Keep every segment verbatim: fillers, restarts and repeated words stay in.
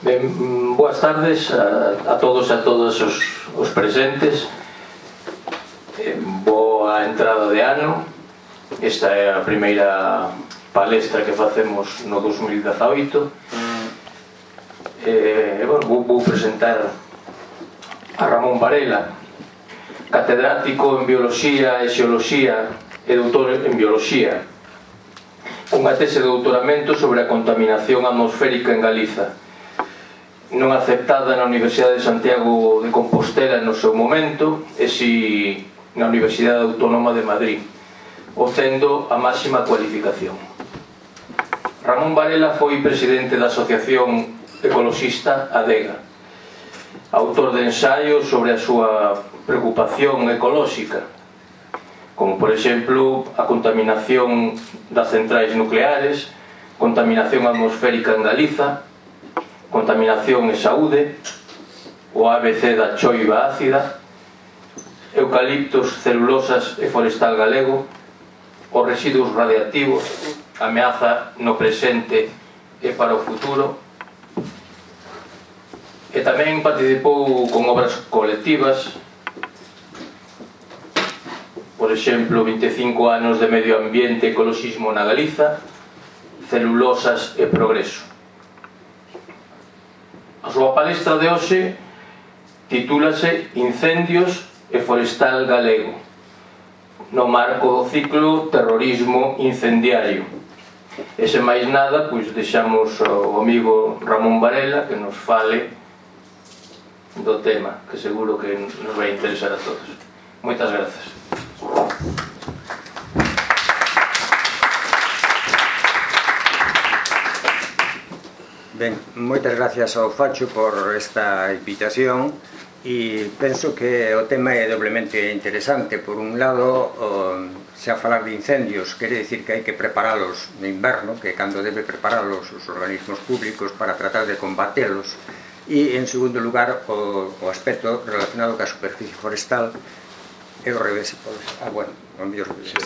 Ben, boas tardes a, a todos e a todas os, os presentes. eh, Boa entrada de ano. Esta é a primeira palestra que facemos no dos mil dezaoito. eh, bueno, vou, vou presentar a Ramón Varela, catedrático en Bioloxía e Xeoloxía e doutor en Bioloxía, cunha tese de doutoramento sobre a contaminación atmosférica en Galiza, non aceptada na Universidade de Santiago de Compostela no seu momento, e si na Universidade Autónoma de Madrid, obtendo a máxima cualificación. Ramón Varela foi presidente da Asociación Ecoloxista ADEGA, autor de ensaios sobre a súa preocupación ecolóxica, como por exemplo a contaminación das centrais nucleares, contaminación atmosférica en Galiza, contaminación e saúde, o A B C da choiva ácida, eucaliptos, celulosas e forestal galego, os residuos radiactivos, ameaza no presente e para o futuro. E tamén participou con obras colectivas, por exemplo, vinte e cinco anos de medio ambiente e ecoloxismo na Galiza, celulosas e progreso. A súa palestra de hoxe titúlase Incendios e forestal galego, no marco do ciclo Terrorismo incendiario. E sen máis nada, pois deixamos ao amigo Ramón Varela que nos fale do tema, que seguro que nos vai interesar a todos. Moitas grazas. Ben, moitas gracias ao Facho por esta invitación, e penso que o tema é doblemente interesante. Por un lado, se a falar de incendios quere dicir que hai que preparalos no inverno, que cando debe preparalos os organismos públicos para tratar de combatelos, e en segundo lugar o, o aspecto relacionado ca superficie forestal é o revés. Ah, bueno, o mellor revés.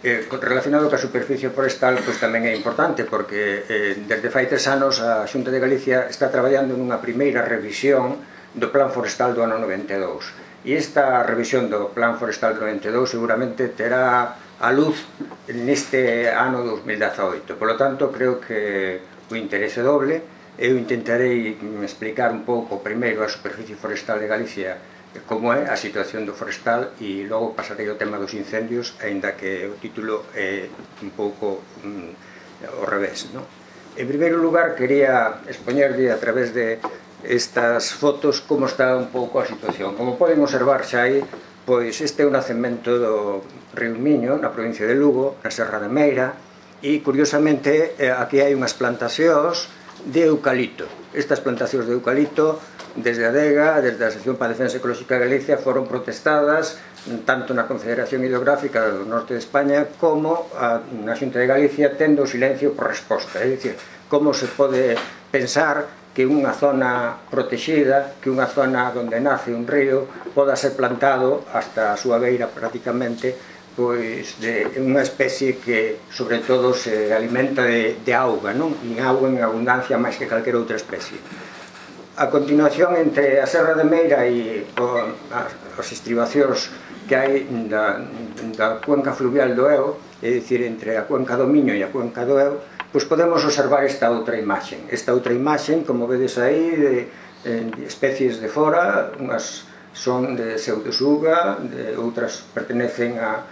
Eh, relacionado ca superficie forestal, pois tamén é importante, porque eh, desde fai tres anos a Xunta de Galicia está traballando nunha primeira revisión do Plan Forestal do ano noventa e dous, e esta revisión do Plan Forestal do noventa e dous seguramente terá a luz neste ano dos mil dezaoito. Por lo tanto, creo que o interese doble. Eu intentarei explicar un pouco primeiro a superficie forestal de Galicia, como é a situación do forestal, e logo pasarei ao tema dos incendios, aínda que o título é un pouco mm, ao revés, non? En primeiro lugar, quería expoñerlle a través de estas fotos como está un pouco a situación. Como poden observar xa aí, pois este é o nacemento do río Miño, na provincia de Lugo, na Serra de Meira, e curiosamente aquí hai unhas plantacións de eucalipto. Estas plantacións de eucalipto, desde a ADEGA, desde a Asociación para a Defensa Ecolóxica de Galicia, foron protestadas tanto na Confederación Hidrográfica do Norte de España como na Xunta de Galicia, tendo o silencio por resposta. É dicir, como se pode pensar que unha zona protexida, que unha zona onde nace un río, poda ser plantado hasta a súa beira prácticamente, pois de unha especie que sobre todo se alimenta de, de auga, non? E auga en abundancia máis que calquera outra especie. A continuación, entre a Serra de Meira e o, as, as estribacións que hai da, da cuenca fluvial do Eo, é dicir, entre a cuenca do Miño e a cuenca do Eo, pois podemos observar esta outra imaxen. Esta outra imaxen, como vedes aí, de, de especies de fora, unhas son de pseudosuga, de outras pertenecen a,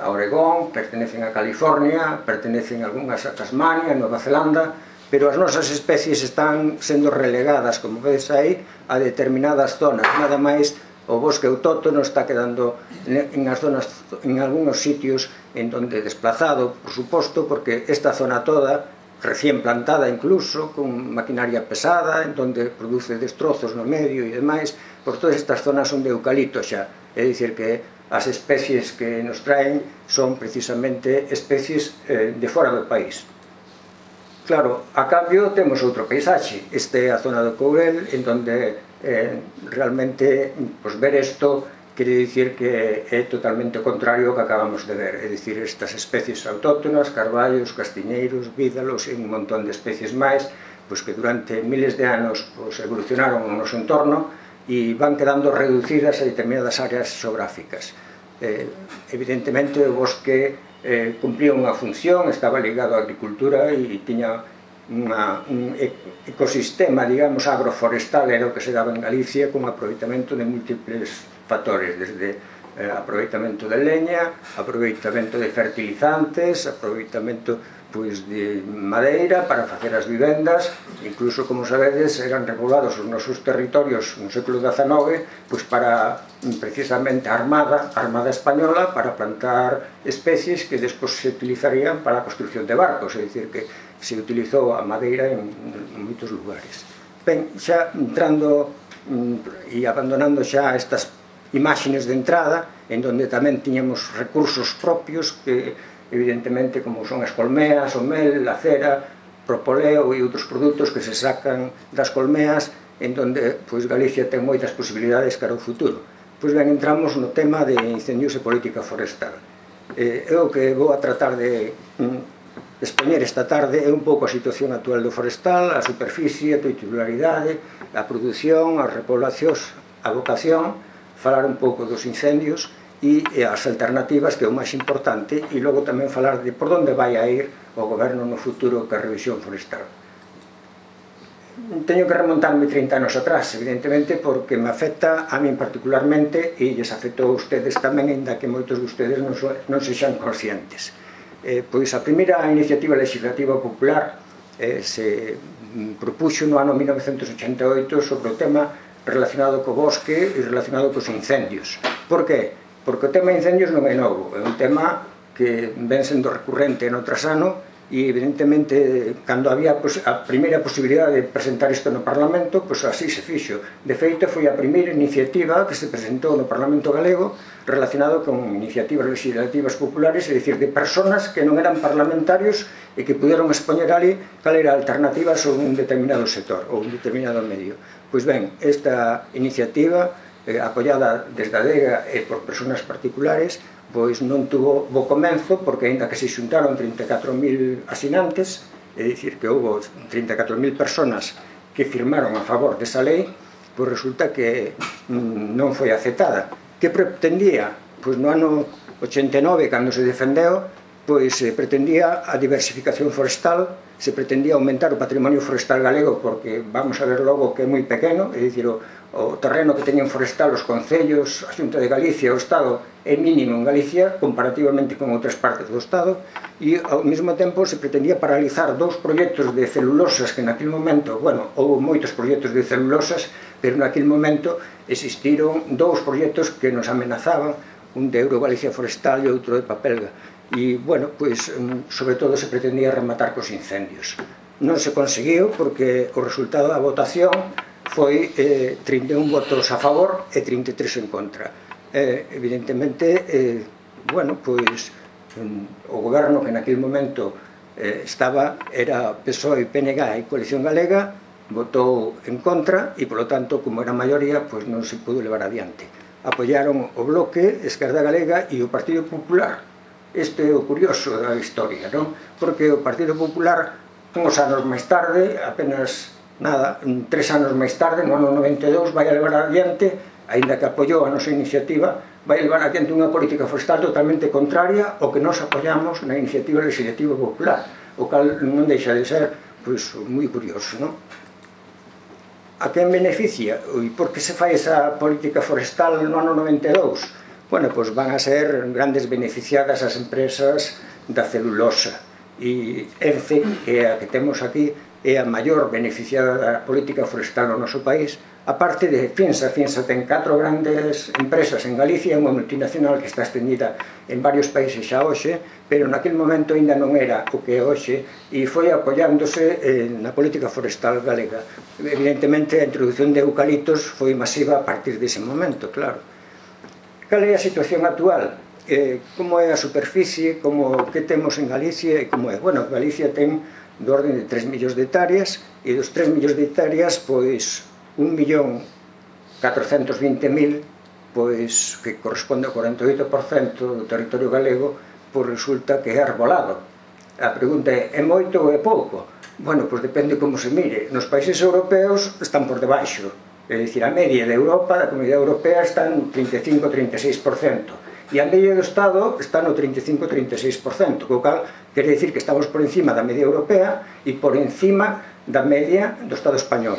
a Oregón, pertenecen a California, pertenecen algunhas a Tasmania, a Nova Zelanda, pero as nosas especies están sendo relegadas, como vedes aí, a determinadas zonas. Nada máis, o bosque autóctono está quedando en as zonas, en algúns sitios en donde desplazado, por suposto, porque esta zona toda, recién plantada incluso, con maquinaria pesada, en donde produce destrozos no medio e demais, por todas estas zonas son de eucalipto xa. É dicir que as especies que nos traen son precisamente especies eh, de fora do país. Claro, a cambio temos outro paisaxe. Este é a zona do Courel, en donde eh, realmente pues, ver isto quere dicir que é totalmente contrario ao que acabamos de ver. É dicir, estas especies autóctonas, carballos, castiñeiros, vídalos e un montón de especies máis, pois que durante miles de anos pois, evolucionaron no noso entorno e van quedando reducidas a determinadas áreas xeográficas. Eh, evidentemente o bosque eh, cumplía unha función, estaba ligado á agricultura e tiña unha, un ecosistema, digamos, agroforestal, era o que se daba en Galicia con aproveitamento de múltiples factores, desde eh, aproveitamento de leña, aproveitamento de fertilizantes, aproveitamento pois, de madeira para facer as vivendas, incluso, como sabedes, eran regulados os nosos territorios no século dezanove pois para, precisamente, a Armada, a Armada Española, para plantar especies que despois se utilizarían para a construcción de barcos, é dicir, que se utilizou a madeira en, en moitos lugares. Ben, xa entrando e abandonando xa estas imágenes de entrada, en donde tamén tiñamos recursos propios que, evidentemente, como son as colmeas, o mel, a cera, propoleo e outros produtos que se sacan das colmeas, en donde pois, Galicia ten moitas posibilidades cara ao futuro. Pois ben, entramos no tema de incendios e política forestal. Eh, eu que vou a tratar de mm, expoñer esta tarde é un pouco a situación actual do forestal, a superficie, a titularidade, a produción, as repoblacións, a vocación, falar un pouco dos incendios e as alternativas, que é o máis importante, e logo tamén falar de por onde vai a ir o goberno no futuro ca revisión forestal. Teño que remontarme trinta anos atrás, evidentemente, porque me afecta a min particularmente e lles afectou a ustedes tamén, ainda que moitos de ustedes non, so, non sexan conscientes. Eh, pois a primeira iniciativa legislativa popular eh, se propuxo no ano mil novecentos ochenta e oito sobre o tema relacionado co bosque e relacionado cos incendios. Por que? Porque o tema de incendios non é novo, é un tema que ven sendo recurrente no trasano e, evidentemente, cando había a primeira posibilidade de presentar isto no Parlamento, pois así se fixo. De feito, foi a primeira iniciativa que se presentou no Parlamento galego relacionado con iniciativas legislativas populares, é dicir, de personas que non eran parlamentarios e que puderon expoñer ali cal era a alternativa sobre un determinado sector ou un determinado medio. Pois ben, esta iniciativa eh, apoiada desde a DEGA e por persoas particulares, pois non tuvo bo comenzo, porque aínda que se xuntaron trinta e catro mil asinantes, é dicir, que houve trinta e catro mil persoas que firmaron a favor desa lei, pois resulta que mm, non foi aceptada. Que pretendía? Pois no ano ochenta e nove, cando se defendeu, pois se pretendía a diversificación forestal, se pretendía aumentar o patrimonio forestal galego, porque vamos a ver logo que é moi pequeno, é dicir, o, o terreno que teñen forestal os concellos, a Xunta de Galicia, o Estado, é mínimo en Galicia, comparativamente con outras partes do Estado, e ao mesmo tempo se pretendía paralizar dous proxectos de celulosas que naquele momento, bueno, houve moitos proxectos de celulosas, pero naquele momento existiron dous proxectos que nos amenazaban, un de Eurogalicia Forestal e outro de Papelga. E, bueno, pois, sobre todo se pretendía rematar cos incendios. Non se conseguiu porque o resultado da votación foi eh, trinta e un votos a favor e trinta e tres en contra. Eh, evidentemente, eh, bueno, pois, o goberno que naquele momento eh, estaba, era P S O E, P N G e Coalición Galega, votou en contra e, polo tanto, como era a maioría, pois non se pudo levar adiante. Apoiaron o Bloque, Esquerda Galega e o Partido Popular. Este é o curioso da historia, non? Porque o Partido Popular, uns anos máis tarde, apenas nada, tres anos máis tarde, no ano noventa e dous, vai a levar adiante, aínda que apoiou a nosa iniciativa, vai a levar adiante unha política forestal totalmente contraria ao que nós apoiamos na iniciativa legislativa popular, o cal non deixa de ser, pois, moi curioso, non? A quen beneficia? E por que se fai esa política forestal no ano noventa e dous? Bueno, pois van a ser grandes beneficiadas as empresas da celulosa. E ENCE, que é a que temos aquí, é a maior beneficiada da política forestal no noso país, aparte de Finsa. Finsa ten catro grandes empresas en Galicia, unha multinacional que está estendida en varios países xa hoxe, pero naquele momento ainda non era o que é hoxe, e foi apoiándose eh, na política forestal galega. Evidentemente, a introducción de eucaliptos foi masiva a partir dese momento, claro. Cal é a situación actual? Eh, como é a superficie, como que temos en Galicia e como é? Bueno, Galicia ten do orden de tres millóns de hectáreas e dos tres millóns de hectáreas, pois, un millón catrocentos vinte mil, pois, que corresponde ao cuarenta e oito por cento do territorio galego, pois resulta que é arbolado. A pregunta é, é moito ou é pouco? Bueno, pois depende como se mire. Nos países europeos están por debaixo. É dicir, a media de Europa, da Comunidade Europea, está en trinta e cinco a trinta e seis por cento. E a media do Estado está no trinta e cinco a trinta e seis por cento, co cal quere dicir que estamos por encima da media europea e por encima da media do Estado español.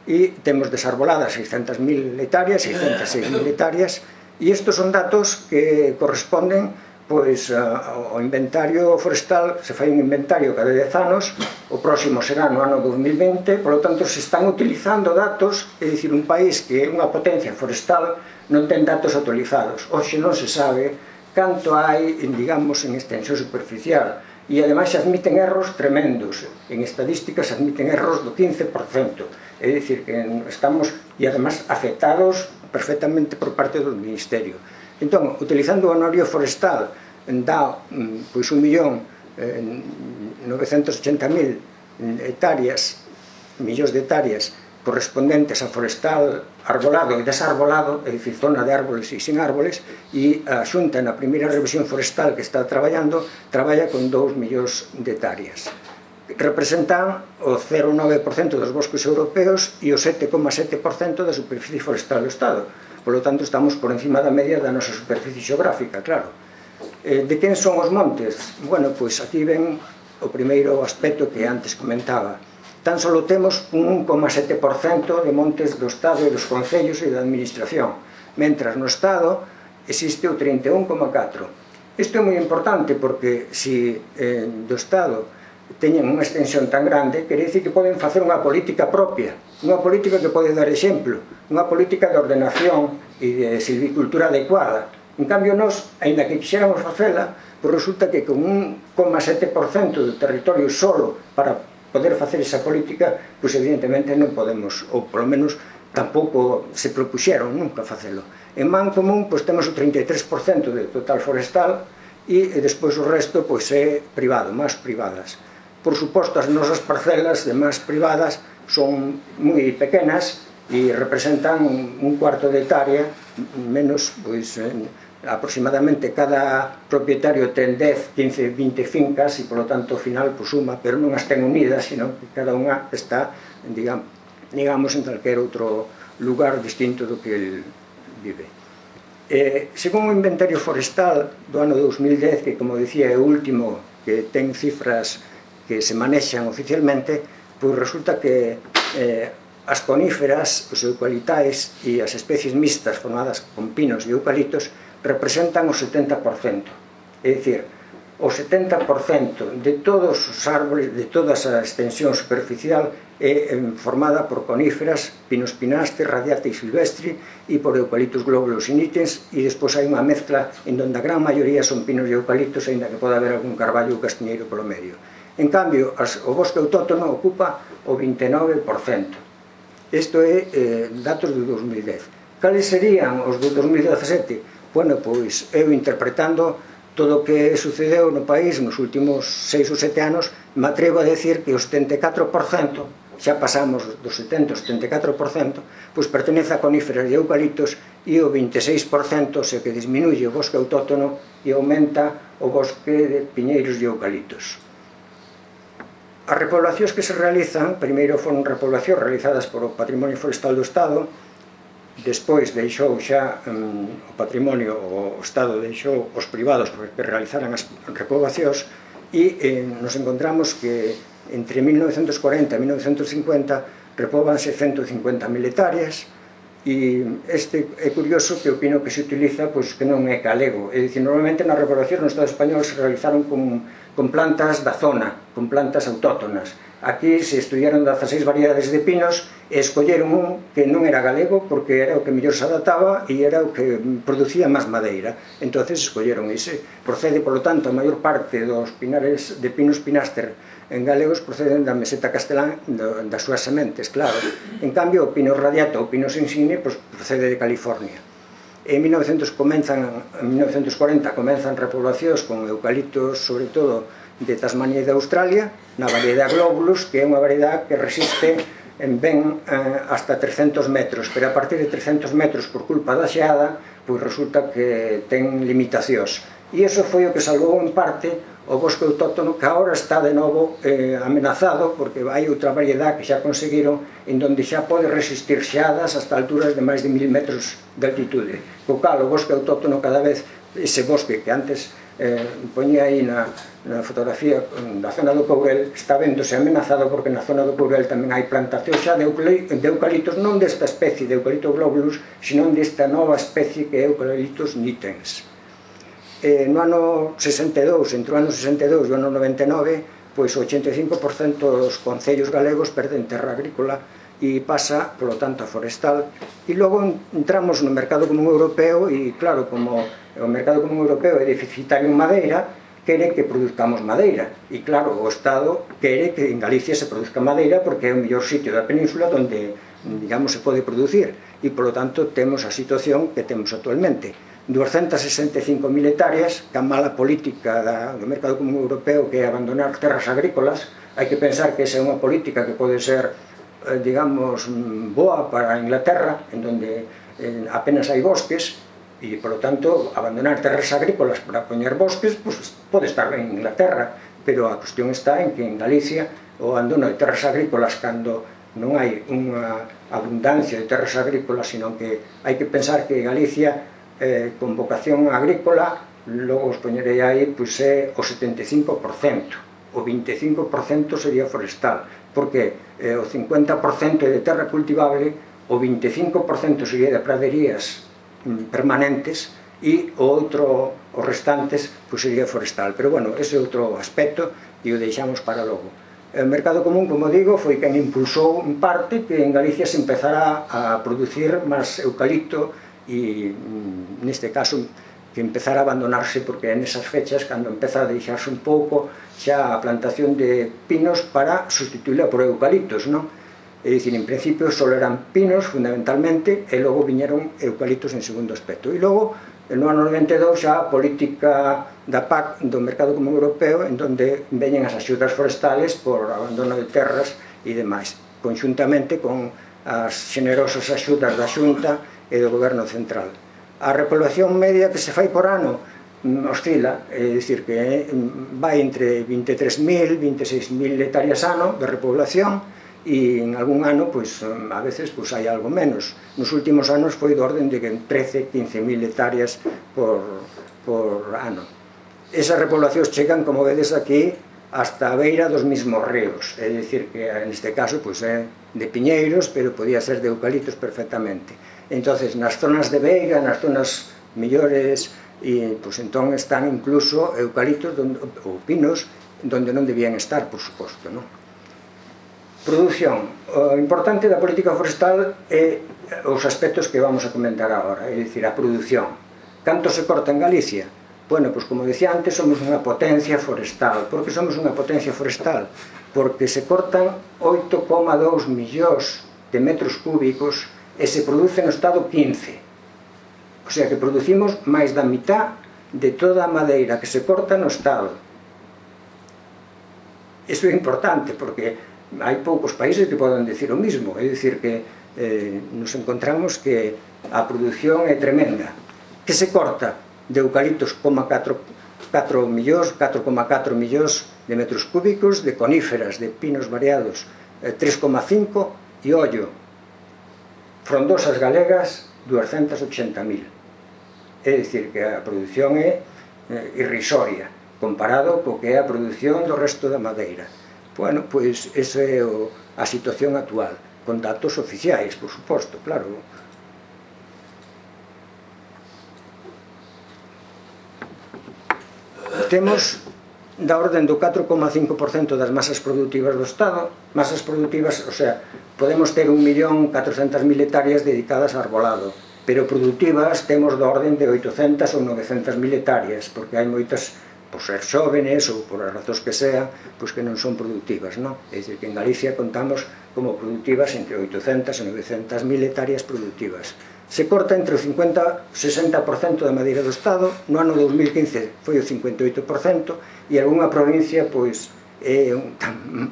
E temos desarboladas seiscentas mil hectáreas, seiscentas seis mil hectáreas, e estes son datos que corresponden pois ao inventario forestal. Se fai un inventario cada dez anos, o próximo será no ano dos mil vinte, polo tanto se están utilizando datos, é dicir, un país que é unha potencia forestal non ten datos actualizados. Hoxe non se sabe canto hai, digamos, en extensión superficial, e ademais se admiten erros tremendos. En estadísticas se admiten erros do quince por cento, é dicir, que estamos, e ademais afectados perfectamente por parte do Ministerio. Entón, utilizando o anuario forestal, dá pois un millón novecentos ochenta mil hectáreas, millóns de hectáreas correspondentes a forestal arbolado e desarbolado, é dicir, zona de árboles e sin árboles, e a Xunta na primeira revisión forestal que está traballando traballa con dous millóns de hectáreas. Representan o cero coma nove por cento dos bosques europeos e o sete coma sete por cento da superficie forestal do Estado. Por lo tanto, estamos por encima da media da nosa superficie xeográfica, claro. De quen son os montes? Bueno, pois aquí ven o primeiro aspecto que antes comentaba. Tan só temos un un coma sete por cento de montes do Estado e dos concellos e da administración, mentras no Estado existe o trinta e un coma catro por cento. Isto é moi importante porque se eh, do Estado teñen unha extensión tan grande, quere dicir que poden facer unha política propia, unha política que pode dar exemplo, unha política de ordenación e de silvicultura adecuada. En cambio, nós, aínda que quixéramos facela, pois resulta que con un un coma sete por cento do territorio solo para poder facer esa política, pois evidentemente non podemos, ou polo menos tampouco se propuxeron nunca facelo. En man común, pois temos o trinta e tres por cento de total forestal e despois o resto pois é privado, máis privadas. Por suposto, as nosas parcelas de máis privadas son moi pequenas e representan un cuarto de hectárea, menos, pois, aproximadamente cada propietario ten dez, quince, vinte fincas e, polo tanto, ao final, pois, suma, pero non as ten unidas, sino que cada unha está, digamos, en calquer outro lugar distinto do que el vive. Según o inventario forestal do ano dos mil dez, que, como dicía, é o último que ten cifras que se manexan oficialmente, pois resulta que eh, as coníferas, os eucalitais e as especies mixtas formadas con pinos e eucaliptos representan o setenta por cento. É dicir, o setenta por cento de todos os árboles, de toda esa extensión superficial é formada por coníferas, pinos pinaste, radiata e silvestre, e por eucaliptus globulus e nitens, e despois hai unha mezcla en donde a gran maioría son pinos e eucaliptos, aínda que pode haber algún carballo ou castiñeiro polo medio. En cambio, o bosque autóctono ocupa o vinte e nove por cento. Isto é eh, datos do dos mil dez. Cales serían os do dos mil dezasete? Bueno, pois, eu interpretando todo o que sucedeu no país nos últimos seis ou sete anos, me atrevo a decir que o setenta e catro por cento, xa pasamos dos setenta ao setenta e catro por cento, pois pertenece a coníferas e eucaliptos, e o vinte e seis por cento se que disminuye o bosque autóctono e aumenta o bosque de piñeiros e eucaliptos. As repoblacións que se realizan, primeiro foron repoblacións realizadas por o Patrimonio Forestal do Estado, despois deixou xa um, o patrimonio, o Estado deixou os privados que realizaran as repoblacións, e eh, nos encontramos que entre mil novecentos corenta e mil novecentos cincuenta repóbanse ciento cincuenta mil hectáreas, e este é curioso que opino que se utiliza pois que non é galego, é dicir, normalmente nas repoblacións no Estado español se realizaron con, con plantas da zona, con plantas autóctonas. Aquí se estudiaron dezaseis variedades de pinos e escolleron un que non era galego porque era o que mellor se adaptaba e era o que producía máis madeira, entonces escolleron ese. Procede, polo tanto, a maior parte dos pinares de pinos pinaster en galegos proceden da meseta castelán das súas sementes, claro. En cambio, o pino radiata ou pinos insigne procede de California. En mil novecentos corenta comenzan repoblacións con eucaliptos, sobre todo de Tasmania e de Australia, na variedade Globulus, que é unha variedade que resiste ben hasta trescentos metros, pero a partir de trescentos metros por culpa da xeada, pois resulta que ten limitacións. E iso foi o que salvou en parte o bosque autóctono, que agora está de novo eh, amenazado, porque hai outra variedade que xa conseguiron en donde xa pode resistir xeadas hasta alturas de máis de mil metros de altitude. Co cal o bosque autóctono cada vez, ese bosque que antes eh, poñía aí na, na fotografía da zona do Courel, está vendose amenazado porque na zona do Courel tamén hai plantación xa de, de eucaliptos, non desta especie de eucalipto globulus, sino desta nova especie que é Eucalyptus nitens. Eh, no ano sesenta e dous, entre o ano sesenta e dous e o ano noventa e nove, pois o ochenta e cinco por cento dos concellos galegos perden terra agrícola e pasa, polo tanto, a forestal. E logo entramos no mercado común europeo e, claro, como o mercado común europeo é deficitario en madeira, quere que produzcamos madeira. E, claro, o Estado quere que en Galicia se produzca madeira porque é o mellor sitio da península onde, digamos, se pode producir. E, polo tanto, temos a situación que temos actualmente. doscientas sesenta e cinco mil hectáreas, que a mala política do mercado común europeo, que é abandonar terras agrícolas. Hai que pensar que esa é unha política que pode ser, digamos, boa para a Inglaterra, en donde apenas hai bosques, e, polo tanto, abandonar terras agrícolas para poñer bosques, pues, pode estar ben en Inglaterra, pero a cuestión está en que en Galicia o abandono de terras agrícolas, cando non hai unha abundancia de terras agrícolas, sino que hai que pensar que Galicia, eh, con vocación agrícola, logo os poñerei aí, pois é o setenta e cinco por cento. O vinte e cinco por cento sería forestal, porque eh, o cincuenta por cento é de terra cultivable, o vinte e cinco por cento sería de praderías mm, permanentes, e o outro, os restantes, pois sería forestal. Pero, bueno, ese é outro aspecto e o deixamos para logo. O mercado común, como digo, foi quen impulsou en parte que en Galicia se empezara a producir máis eucalipto e, neste caso, que empezara a abandonarse, porque en esas fechas, cando empeza a deixarse un pouco xa a plantación de pinos para sustituíla por eucaliptos, non? É dicir, en principio só eran pinos, fundamentalmente, e logo viñeron eucaliptos en segundo aspecto. E logo, no ano noventa e dous, xa a política da P A C, do Mercado Común Europeo, en donde veñen as axudas forestales por abandono de terras e demais, conxuntamente con as generosas axudas da Xunta e do Goberno Central. A repoblación media que se fai por ano oscila, é dicir, que vai entre vinte e tres mil, vinte e seis mil hectáreas ano de repoblación, e en algún ano, pois, a veces, pois, hai algo menos. Nos últimos anos foi do orden de trece, quince mil hectáreas por, por ano. Esas repoblacións chegan, como vedes aquí, hasta a beira dos mismos ríos, é dicir, que neste caso, pois, é de piñeiros, pero podía ser de eucaliptos perfectamente. Entonces, nas zonas de veiga, nas zonas mellores, e, pois, entón están incluso eucaliptos ou pinos donde non debían estar, por suposto, non? Produción. O importante da política forestal é os aspectos que vamos a comentar agora, é dicir, a produción. Canto se corta en Galicia? Bueno, pois, como decía antes, somos unha potencia forestal. Por que somos unha potencia forestal? Porque se cortan oito coma dous millóns de metros cúbicos e se produce no estado quince. O sea que producimos máis da mitad de toda a madeira que se corta no estado. Iso é importante porque hai poucos países que poden decir o mismo. É dicir que eh, nos encontramos que a produción é tremenda. Que se corta de eucaliptos catro millóns, catro coma catro millóns de metros cúbicos, de coníferas, de pinos variados, eh, tres coma cinco, e ollo, frondosas galegas, doscientos ochenta mil. É dicir, que a produción é irrisoria comparado co que é a produción do resto da madeira. Bueno, pois esa é a situación actual, con datos oficiais, por suposto, claro. Temos da orden do catro coma cinco por cento das masas productivas do Estado, masas productivas, o sea, podemos ter un millón catrocentas mil hectáreas dedicadas a arbolado, pero productivas temos da orden de oitocentas ou novecentas mil hectáreas, porque hai moitas, por ser xóvenes ou por as razóns que sean, pois que non son productivas, non? É dicir, que en Galicia contamos como productivas entre oitocentas e novecentas mil hectáreas productivas. Se corta entre o cincuenta e sesenta por cento da madeira do Estado, no ano dos mil quince foi o cincuenta e oito por cento, e algunha provincia, pois, é,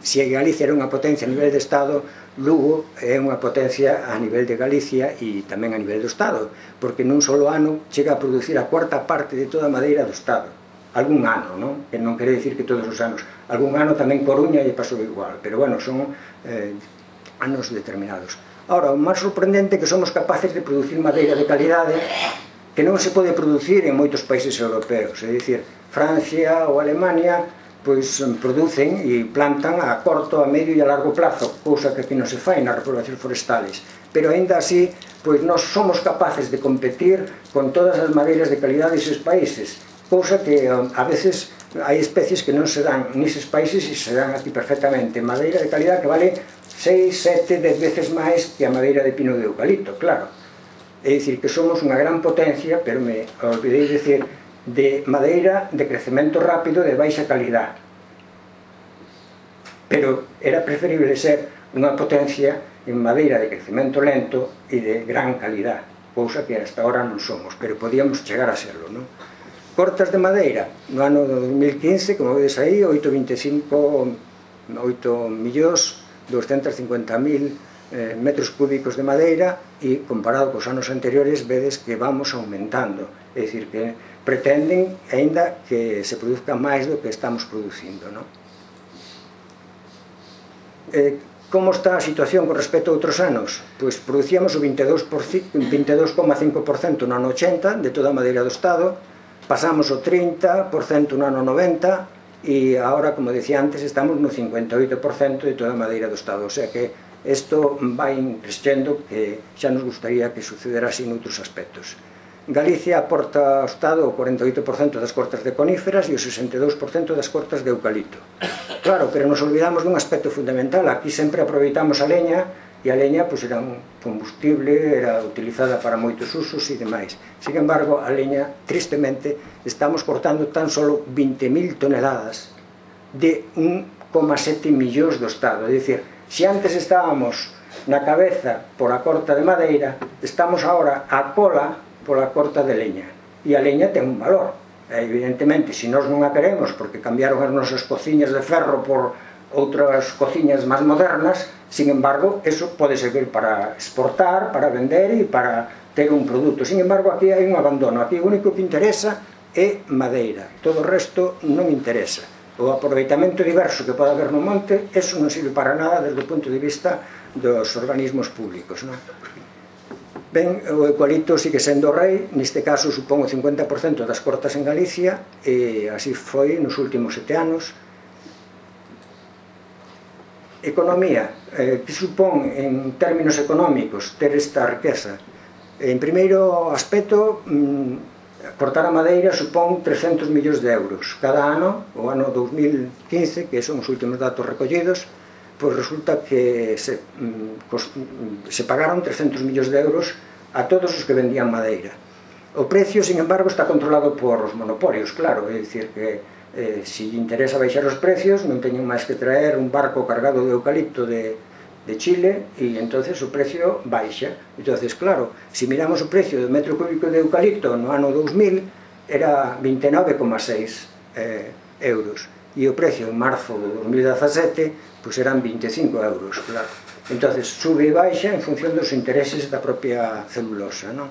se Galicia era unha potencia a nivel de Estado, Lugo é unha potencia a nivel de Galicia e tamén a nivel do Estado, porque nun solo ano chega a producir a cuarta parte de toda a madeira do Estado. Algún ano, non? Que non quere dicir que todos os anos. Algún ano tamén Coruña lle pasou igual, pero bueno, son eh, anos determinados. Ahora, o máis sorprendente é que somos capaces de producir madeira de calidade que non se pode producir en moitos países europeos, é dicir, Francia ou Alemania pois producen e plantan a corto, a medio e a largo plazo, cousa que aquí non se fai nas repoblacións forestales, pero aínda así pois nós somos capaces de competir con todas as madeiras de calidade deses países, cousa que a veces hai especies que non se dan neses países e se dan aquí perfectamente, madeira de calidade que vale seis, sete, dez veces máis que a madeira de pino de eucalipto, claro. É dicir, que somos unha gran potencia, pero me olvidei dicir, de madeira de crecemento rápido de baixa calidad. Pero era preferible ser unha potencia en madeira de crecemento lento e de gran calidad, cousa que hasta ahora non somos, pero podíamos chegar a serlo, non? Cortas de madeira, no ano dos mil quince, como vedes aí, oito vinte e cinco, oito millóns doscientos cincuenta mil eh, metros cúbicos de madeira e comparado cos anos anteriores vedes que vamos aumentando, é dicir que pretenden aínda que se produzca máis do que estamos producindo, non? Eh, como está a situación con respecto a outros anos? Pois producíamos o vinte e dous coma cinco por cento no ano ochenta de toda a madeira do Estado, pasamos o trinta por cento no ano noventa e agora, como decía antes, estamos no cincuenta e oito por cento de toda a madeira do Estado, o sea que isto vai crescendo, que xa nos gustaría que sucedera así noutros aspectos. Galicia aporta ao Estado o cuarenta e oito por cento das cortas de coníferas e o sesenta e dous por cento das cortas de eucalipto. Claro, pero nos olvidamos dun aspecto fundamental. Aquí sempre aproveitamos a leña e a leña pois, era un combustible, era utilizada para moitos usos e demais. Sin embargo, a leña, tristemente, estamos cortando tan solo vinte mil toneladas de un coma sete millóns do Estado. É dicir, se antes estábamos na cabeza por a corta de madeira, estamos agora a cola pola corta de leña. E a leña ten un valor. Evidentemente, se nós non a queremos porque cambiaron as nosas cociñas de ferro por outras cociñas máis modernas, sin embargo, eso pode servir para exportar, para vender e para ter un produto. Sin embargo, aquí hai un abandono. Aquí o único que interesa é madeira. Todo o resto non interesa. O aproveitamento diverso que pode haber no monte, eso non sirve para nada desde o punto de vista dos organismos públicos, non? Ben, o eucalipto sigue sendo o rei, neste caso supón o cincuenta por cento das cortas en Galicia, e así foi nos últimos sete anos. Economía, eh, que supón en términos económicos ter esta riqueza? En primeiro aspecto, mmm, cortar a madeira supón trescentos millóns de euros. Cada ano, o ano dos mil quince, que son os últimos datos recollidos, pois resulta que se, se pagaron trescentos millóns de euros a todos os que vendían madeira. O precio, sin embargo, está controlado por os monopolios, claro, é dicir que eh, se interesa baixar os precios non teñen máis que traer un barco cargado de eucalipto de, de Chile e entonces o precio baixa. Entonces, claro, se miramos o precio do metro cúbico de eucalipto no ano dos mil era vinte e nove coma seis eh, euros e o precio en marzo de dos mil dezasete pois eran vinte e cinco euros, claro. Entonces, sube e baixa en función dos intereses da propia celulosa, non?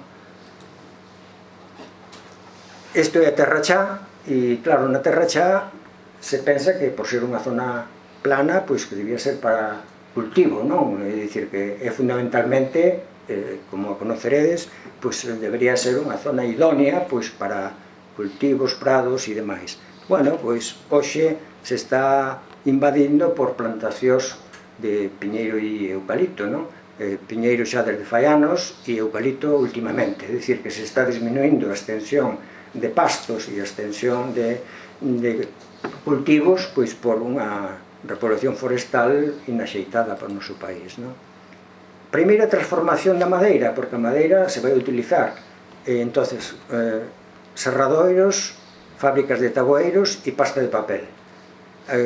Isto é a Terra Chá, e claro, na Terra Chá se pensa que por ser unha zona plana, pois que debía ser para cultivo, non? É dicir que é fundamentalmente, eh, como a conoceredes, pois debería ser unha zona idónea pois para cultivos, prados e demais. Bueno, pois hoxe se está invadindo por plantacións de piñeiro e eucalipto, non? Eh, piñeiro xa desde fai anos e eucalipto últimamente, é dicir que se está disminuindo a extensión de pastos e a extensión de, de cultivos pois por unha repoblación forestal inaxeitada para o noso país, non? Primeira transformación da madeira, porque a madeira se vai utilizar eh, entonces eh, serradoiros, fábricas de taboeiros e pasta de papel.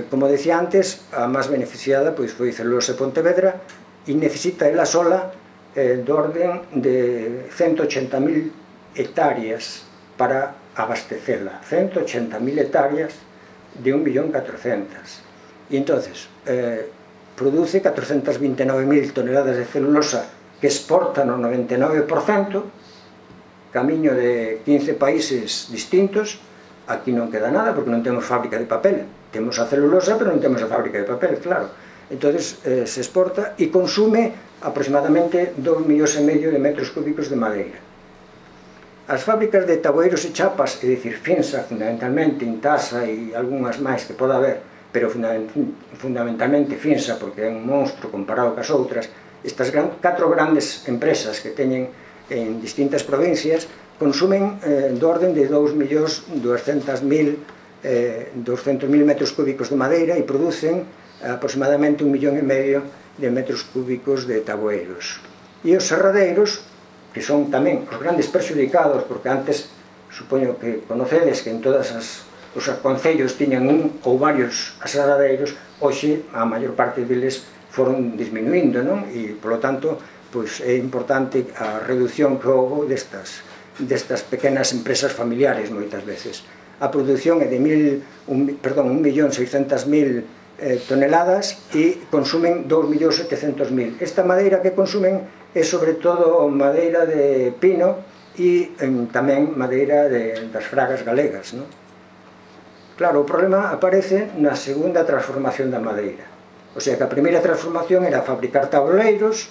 Como decía antes, a máis beneficiada pois foi Celulose Pontevedra e necesita ela sola eh, do orden de ciento ochenta mil hectáreas para abastecela. ciento ochenta mil hectáreas de un millón catrocentas. E entonces eh, produce catrocentas vinte e nove mil toneladas de celulosa que exporta no noventa e nove por cento, camiño de quince países distintos. Aquí non queda nada porque non temos fábrica de papel, temos a celulosa pero non temos a fábrica de papel, claro. Entonces eh, se exporta e consume aproximadamente dous millóns e medio de metros cúbicos de madeira. As fábricas de taboeiros e chapas, é dicir, Finsa fundamentalmente, Intasa e algunhas máis que poda haber, pero fundamentalmente Finsa porque é un monstro comparado cas outras, estas catro grandes empresas que teñen en distintas provincias consumen eh, do orden de dous millóns duascentos mil metros cúbicos de madeira e producen aproximadamente un millón e medio de metros cúbicos de taboeiros. E os serradeiros, que son tamén os grandes perxudicados, porque antes, supoño que conocedes que en todas as os concellos tiñan un ou varios aserradeiros, hoxe a maior parte deles foron disminuindo, non? E, polo tanto, pois é importante a reducción que houve destas, destas pequenas empresas familiares moitas veces. A produción é de mil, un, perdón, un millón seiscentas mil eh, toneladas e consumen dous millóns setecentos mil. Esta madeira que consumen é sobre todo madeira de pino e eh, tamén madeira de, das fragas galegas, non? Claro, o problema aparece na segunda transformación da madeira. O sea que a primeira transformación era fabricar tabuleiros,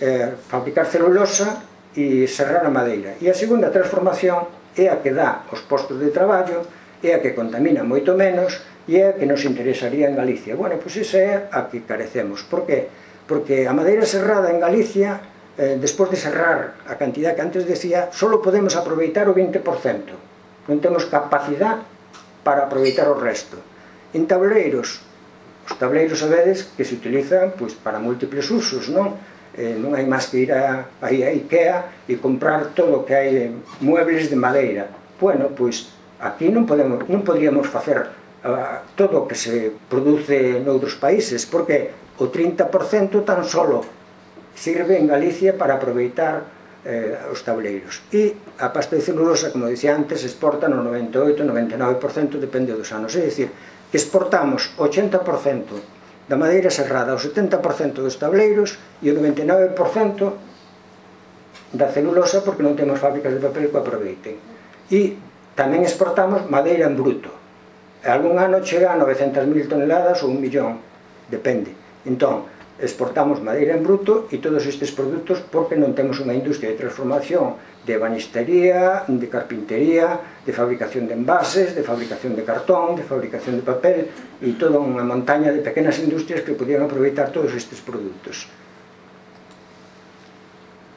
eh, fabricar celulosa e serrar a madeira. E a segunda transformación é a que dá os postos de traballo, é a que contamina moito menos e é a que nos interesaría en Galicia. Bueno, pois esa é a que carecemos. Por qué? Porque a madeira serrada en Galicia, eh, despois de serrar a cantidad que antes decía, só podemos aproveitar o vinte por cento. Non temos capacidade para aproveitar o resto. En tableiros, os tableiros sabedes que se utilizan pois, para múltiples usos, non? Eh, non hai máis que ir a, a IKEA e comprar todo o que hai de muebles de madeira. Bueno, pois aquí non, podemos, non podríamos facer uh, todo o que se produce noutros países, porque o trinta por cento tan solo sirve en Galicia para aproveitar Eh, os tableiros. E a pasta de celulosa, como dicía antes, exporta no noventa e oito, noventa e nove por cento, depende dos anos. É dicir, que exportamos o ochenta por cento da madeira serrada, o setenta por cento dos tableiros e o noventa e nove por cento da celulosa porque non temos fábricas de papel que aproveiten. E tamén exportamos madeira en bruto. Algún ano chega a novecentas mil toneladas ou un millón, depende. Entón, exportamos madeira en bruto e todos estes produtos porque non temos unha industria de transformación de ebanistería, de carpintería, de fabricación de envases, de fabricación de cartón, de fabricación de papel e toda unha montaña de pequenas industrias que podían aproveitar todos estes produtos.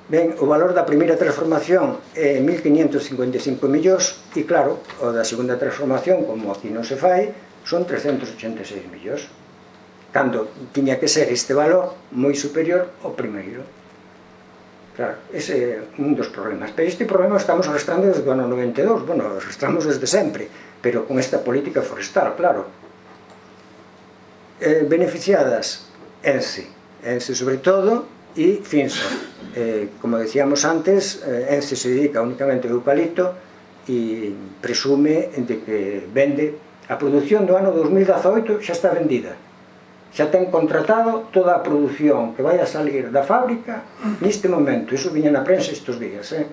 Ben, o valor da primeira transformación é mil quinientos cincuenta e cinco millóns e claro, o da segunda transformación, como aquí non se fai, son trescentos ochenta e seis millóns. Cando tiña que ser este valor moi superior ao primeiro. Claro, ese é un dos problemas. Pero este problema estamos arrastrando desde o ano noventa e dous, bueno, arrastramos desde sempre, pero con esta política forestal, claro. Eh, beneficiadas Ence, Ence sobre todo, e Finsa. Eh, como decíamos antes, eh, Ence se dedica únicamente ao eucalipto e presume de que vende. A produción do ano dos mil dezaoito xa está vendida. Xa ten contratado toda a produción que vai a salir da fábrica neste momento, iso viña na prensa estes días, eh?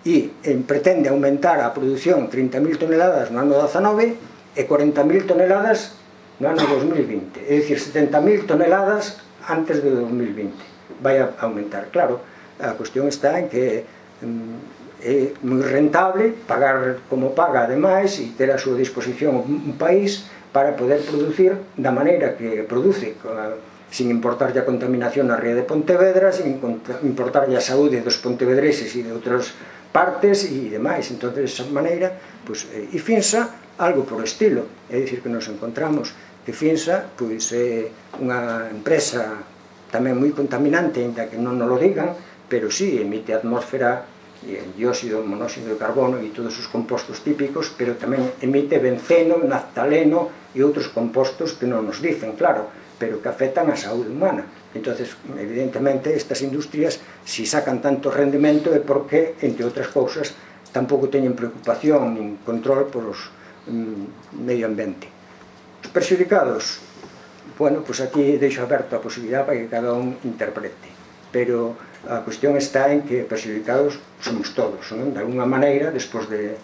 E eh, pretende aumentar a produción trinta mil toneladas no ano dezanove e corenta mil toneladas no ano dos mil vinte, é dicir, setenta mil toneladas antes de dos mil vinte vai a aumentar. Claro, a cuestión está en que mm, é moi rentable pagar como paga ademais e ter a súa disposición un país para poder producir da maneira que produce, sin importar a contaminación na ría de Pontevedra, sin importar a saúde dos pontevedreses e de outras partes e demais. Entón, de esa maneira, pues, e Finsa, algo por estilo, é dicir que nos encontramos que Finsa pois, é unha empresa tamén moi contaminante, ainda que non nos lo digan, pero sí, emite a atmósfera dióxido, monóxido de carbono e todos os compostos típicos, pero tamén emite benceno, naftaleno e outros compostos que non nos dicen, claro, pero que afectan a saúde humana. Entonces, evidentemente, estas industrias, si sacan tanto rendimento é porque, entre outras cousas, tampouco teñen preocupación nin control por os mm, medio ambiente. Os perxudicados, bueno, pois aquí deixo aberto a posibilidade para que cada un interprete, pero a cuestión está en que perxudicados somos todos, non? De alguna maneira, despois de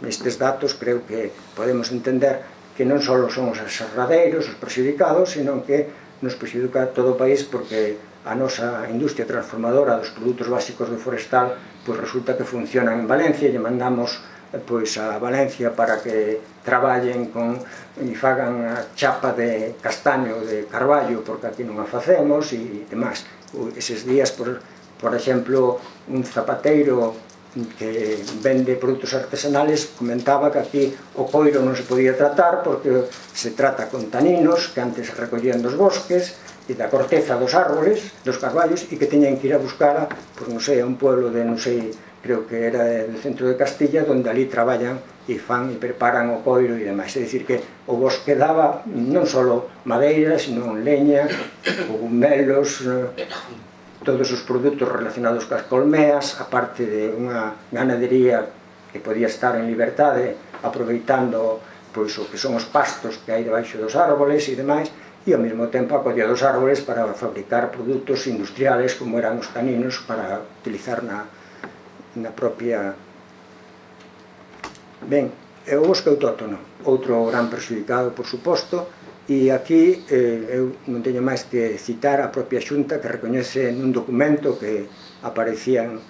estes datos, creo que podemos entender que non só son os aserradeiros os perxudicados, sino que nos perxudica todo o país, porque a nosa industria transformadora dos produtos básicos do forestal pois resulta que funcionan en Valencia, e lle mandamos pois a Valencia para que traballen con e fagan a chapa de castaño de carballo, porque aquí non a facemos e demais. Eses días, por, por exemplo, un zapateiro que vende produtos artesanales comentaba que aquí o coiro non se podía tratar porque se trata con taninos que antes se recollían dos bosques e da corteza dos árboles, dos carballos, e que teñen que ir a buscar, pois non sei, a un pueblo de, non sei, creo que era do centro de Castilla, onde ali traballan e fan e preparan o coiro e demais. É dicir que o bosque daba non só madeira, sino leña, cogumelos, todos os produtos relacionados cas colmeas, aparte de unha ganadería que podía estar en liberdade, aproveitando pois o que son os pastos que hai debaixo dos árboles e demais, e ao mesmo tempo a colla dos árboles para fabricar produtos industriales como eran os taninos para utilizar na, na propia... Ben, é o bosque autóctono, outro gran perxudicado, por suposto, e aquí eh, eu non teño máis que citar a propia Xunta, que recoñece nun documento que aparecían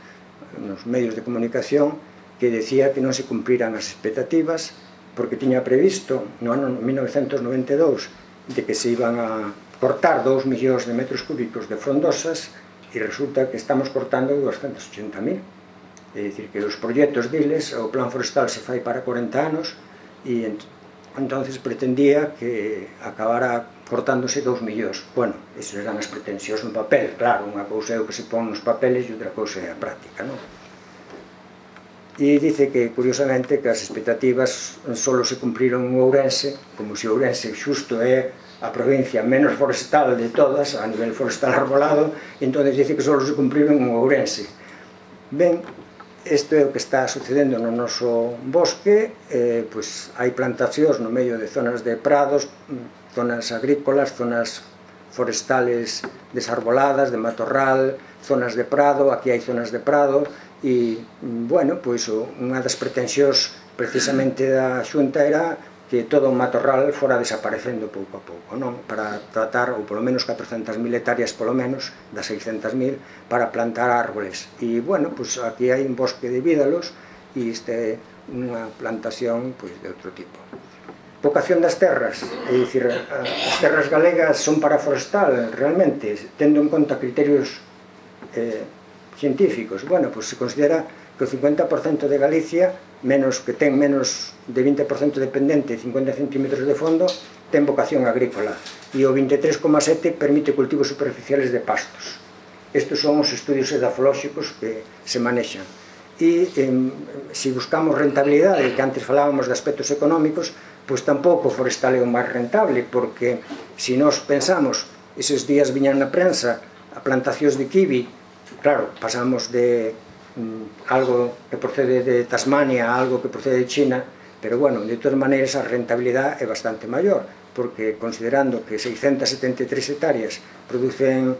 nos medios de comunicación, que decía que non se cumpriran as expectativas porque tiña previsto no ano mil novecentos noventa e dous de que se iban a cortar dous millóns de metros cúbicos de frondosas e resulta que estamos cortando doscientos ochenta mil. É dicir, que os proxectos diles, o plan forestal se fai para corenta anos e entonces pretendía que acabara cortándose dous millóns. Bueno, esas eran as pretensións no papel, claro, unha cousa é o que se pon nos papeles e outra cousa é a práctica, non? E dice que, curiosamente, que as expectativas só se cumpriron en Ourense, como se Ourense xusto é a provincia menos forestal de todas, a nivel forestal arbolado, e entón dice que só se cumpriron en Ourense. Ben, isto é o que está sucedendo no noso bosque, eh, pois hai plantacións no medio de zonas de prados, zonas agrícolas, zonas forestales desarboladas, de matorral, zonas de prado, aquí hai zonas de prado, e, bueno, pois unha das pretensións precisamente da Xunta era que todo o matorral fora desaparecendo pouco a pouco, non? Para tratar, ou polo menos catrocentas mil hectáreas polo menos, das seiscentas mil, para plantar árboles. E, bueno, pois aquí hai un bosque de vídalos e este é unha plantación pois de outro tipo. Vocación das terras, é dicir, as terras galegas son para forestal, realmente, tendo en conta criterios eh, científicos. Bueno, pois se considera que o cincuenta por cento de Galicia, menos que ten menos de vinte por cento de pendente e cincuenta centímetros de fondo, ten vocación agrícola, e o vinte e tres coma sete permite cultivos superficiales de pastos. Estes son os estudios edafolóxicos que se manexan. E eh, se buscamos rentabilidade, que antes falábamos de aspectos económicos, pois tampouco o forestal é o máis rentable, porque se nos pensamos, eses días viñan na prensa a plantacións de kiwi, claro, pasamos de mm, algo que procede de Tasmania a algo que procede de China, pero bueno, de todas maneiras a rentabilidade é bastante maior, porque considerando que seiscentas setenta e tres hectáreas producen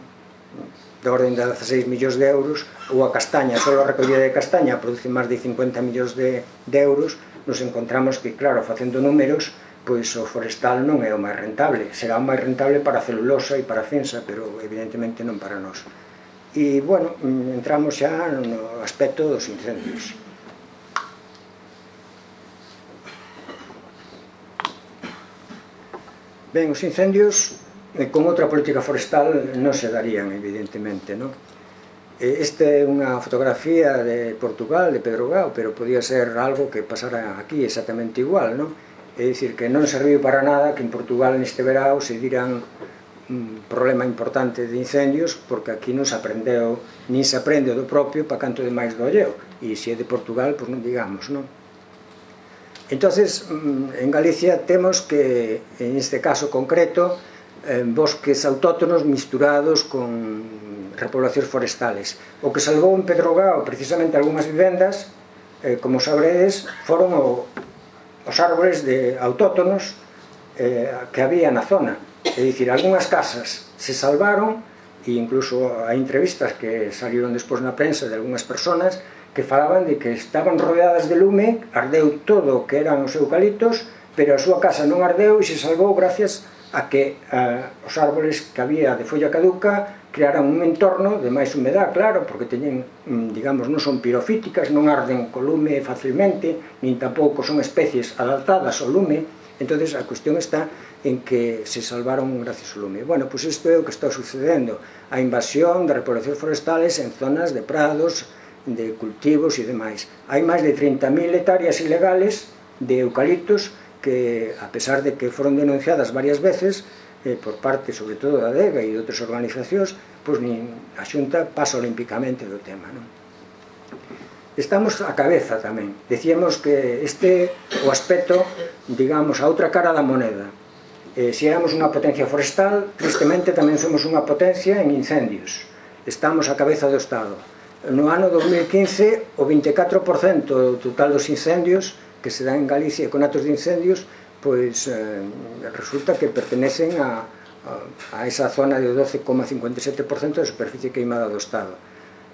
da orden de dezaseis millóns de euros, ou a castaña, só a recollida de castaña produce máis de cincuenta millóns de, de euros, nos encontramos que, claro, facendo números, pois o forestal non é o máis rentable. Será o máis rentable para a celulosa e para a fensa, pero evidentemente non para nós. E, bueno, entramos xa no aspecto dos incendios. Ben, os incendios con outra política forestal non se darían, evidentemente, non? Esta é unha fotografía de Portugal, de Pedro Gao, pero podía ser algo que pasara aquí exactamente igual, non? É dicir, que non serviu para nada que en Portugal neste verao se diran un problema importante de incendios, porque aquí non se aprendeu, nin se aprende do propio para canto de máis do alleo, e se é de Portugal, pois non digamos, non? Entonces, en Galicia temos que, en este caso concreto, bosques autóctonos misturados con repoblacións forestales. O que salvou en Pedro Gao precisamente algunhas vivendas, eh, como sabredes, foron o, os árboles de autóctonos eh, que había na zona. É dicir, algunhas casas se salvaron, e incluso hai entrevistas que salieron despois na prensa de algunhas personas que falaban de que estaban rodeadas de lume, ardeu todo o que eran os eucaliptos, pero a súa casa non ardeu e se salvou gracias a que a, os árboles que había de folla caduca crearan un entorno de máis humedad, claro, porque teñen, digamos, non son pirofíticas, non arden co lume facilmente, nin tampouco son especies adaptadas ao lume. Entonces a cuestión está en que se salvaron gracias ao lume. Bueno, pois isto é o que está sucedendo, a invasión de repoblacións forestales en zonas de prados, de cultivos e demais. Hai máis de trinta mil hectáreas ilegales de eucaliptos que, a pesar de que foron denunciadas varias veces eh, por parte, sobre todo, da DEGA e de outras organizacións, pois nin a Xunta pasa olímpicamente do tema, non? Estamos a cabeza tamén. Decíamos que este o aspecto, digamos, a outra cara da moneda. Eh, se éramos unha potencia forestal, tristemente tamén somos unha potencia en incendios. Estamos a cabeza do Estado. No ano dos mil quince, o vinte e catro por cento do total dos incendios que se dan en Galicia, con atos de incendios, pois eh, resulta que pertenecen a, a, a esa zona de doce coma cincuenta e sete por cento da superficie queimada do Estado.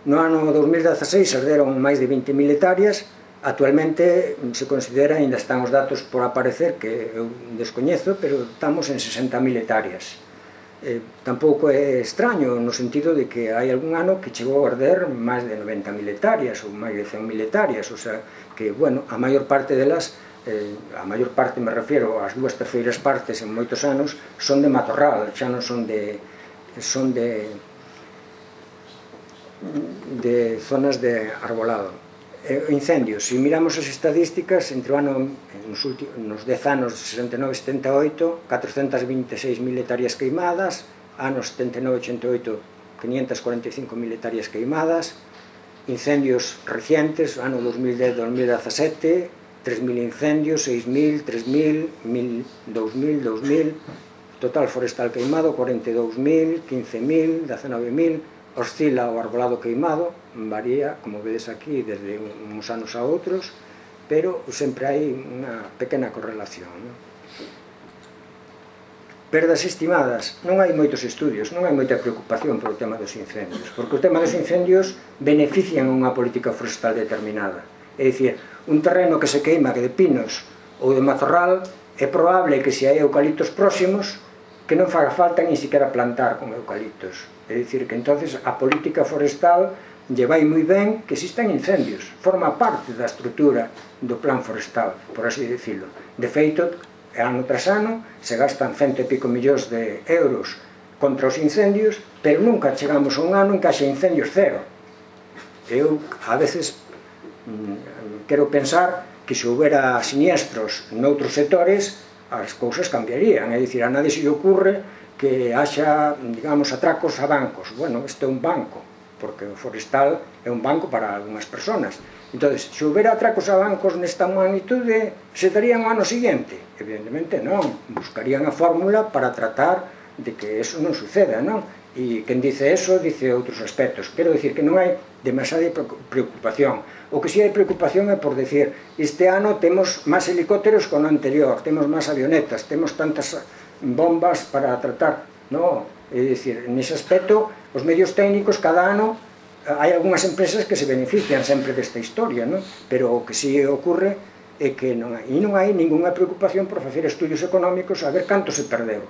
No ano dos mil dezaseis arderon máis de vinte mil hectáreas. Actualmente se considera, ainda están os datos por aparecer, que eu descoñezo, pero estamos en sesenta mil hectáreas. Eh, tampouco é extraño no sentido de que hai algún ano que chegou a arder máis de noventa mil hectáreas ou máis de cen mil hectáreas, o sea que, bueno, a maior parte delas, eh, a maior parte me refiero ás dúas terceiras partes en moitos anos, son de matorral, xa non son de son de de zonas de arbolado. Eh, incendios, se miramos as estadísticas, entre o ano, nos, últimos, nos dez anos de sesenta e nove a setenta e oito, catrocentas vinte e seis mil hectáreas queimadas, anos setenta e nove a ochenta e oito, quinientas cuarenta e cinco mil hectáreas queimadas, incendios recientes, ano dos mil dez a dos mil dezasete, tres mil incendios, seis mil, tres mil, dous mil, dous mil, total forestal queimado, cuarenta e dous mil, quince mil, dezenove mil, oscila o arbolado queimado, varía, como vedes aquí, desde uns anos a outros, pero sempre hai unha pequena correlación, non? Perdas estimadas, non hai moitos estudios, non hai moita preocupación polo tema dos incendios, porque o tema dos incendios benefician unha política forestal determinada. É dicir, un terreno que se queima, que de pinos ou de mazorral, é probable que se hai eucaliptos próximos, que non faga falta nin siquiera plantar con eucaliptos. É dicir, que entonces a política forestal lle vai moi ben que existan incendios, forma parte da estrutura do plan forestal, por así decirlo. De feito, ano tras ano se gastan cento e pico millóns de euros contra os incendios, pero nunca chegamos a un ano en que haxa incendios cero. Eu, a veces, quero pensar que se houbera siniestros noutros sectores, as cousas cambiarían, é dicir, a nadie se lle ocurre que haxa, digamos, atracos a bancos. Bueno, este é un banco, porque o forestal é un banco para algunhas personas. Entón, se houbera atracos a bancos nesta magnitude, se darían o ano seguinte? Evidentemente non, buscarían a fórmula para tratar de que eso non suceda, non? E quen dice eso, dice outros aspectos. Quero dicir que non hai demasiada preocupación. O que si hai preocupación é por decir, este ano temos máis helicópteros que o ano anterior, temos máis avionetas, temos tantas bombas para tratar, no, é dicir, nese aspecto os medios técnicos cada ano hai algunhas empresas que se benefician sempre desta historia, no? Pero o que si ocurre é que non hai, e non hai ninguna preocupación por facer estudios económicos a ver canto se perdeu.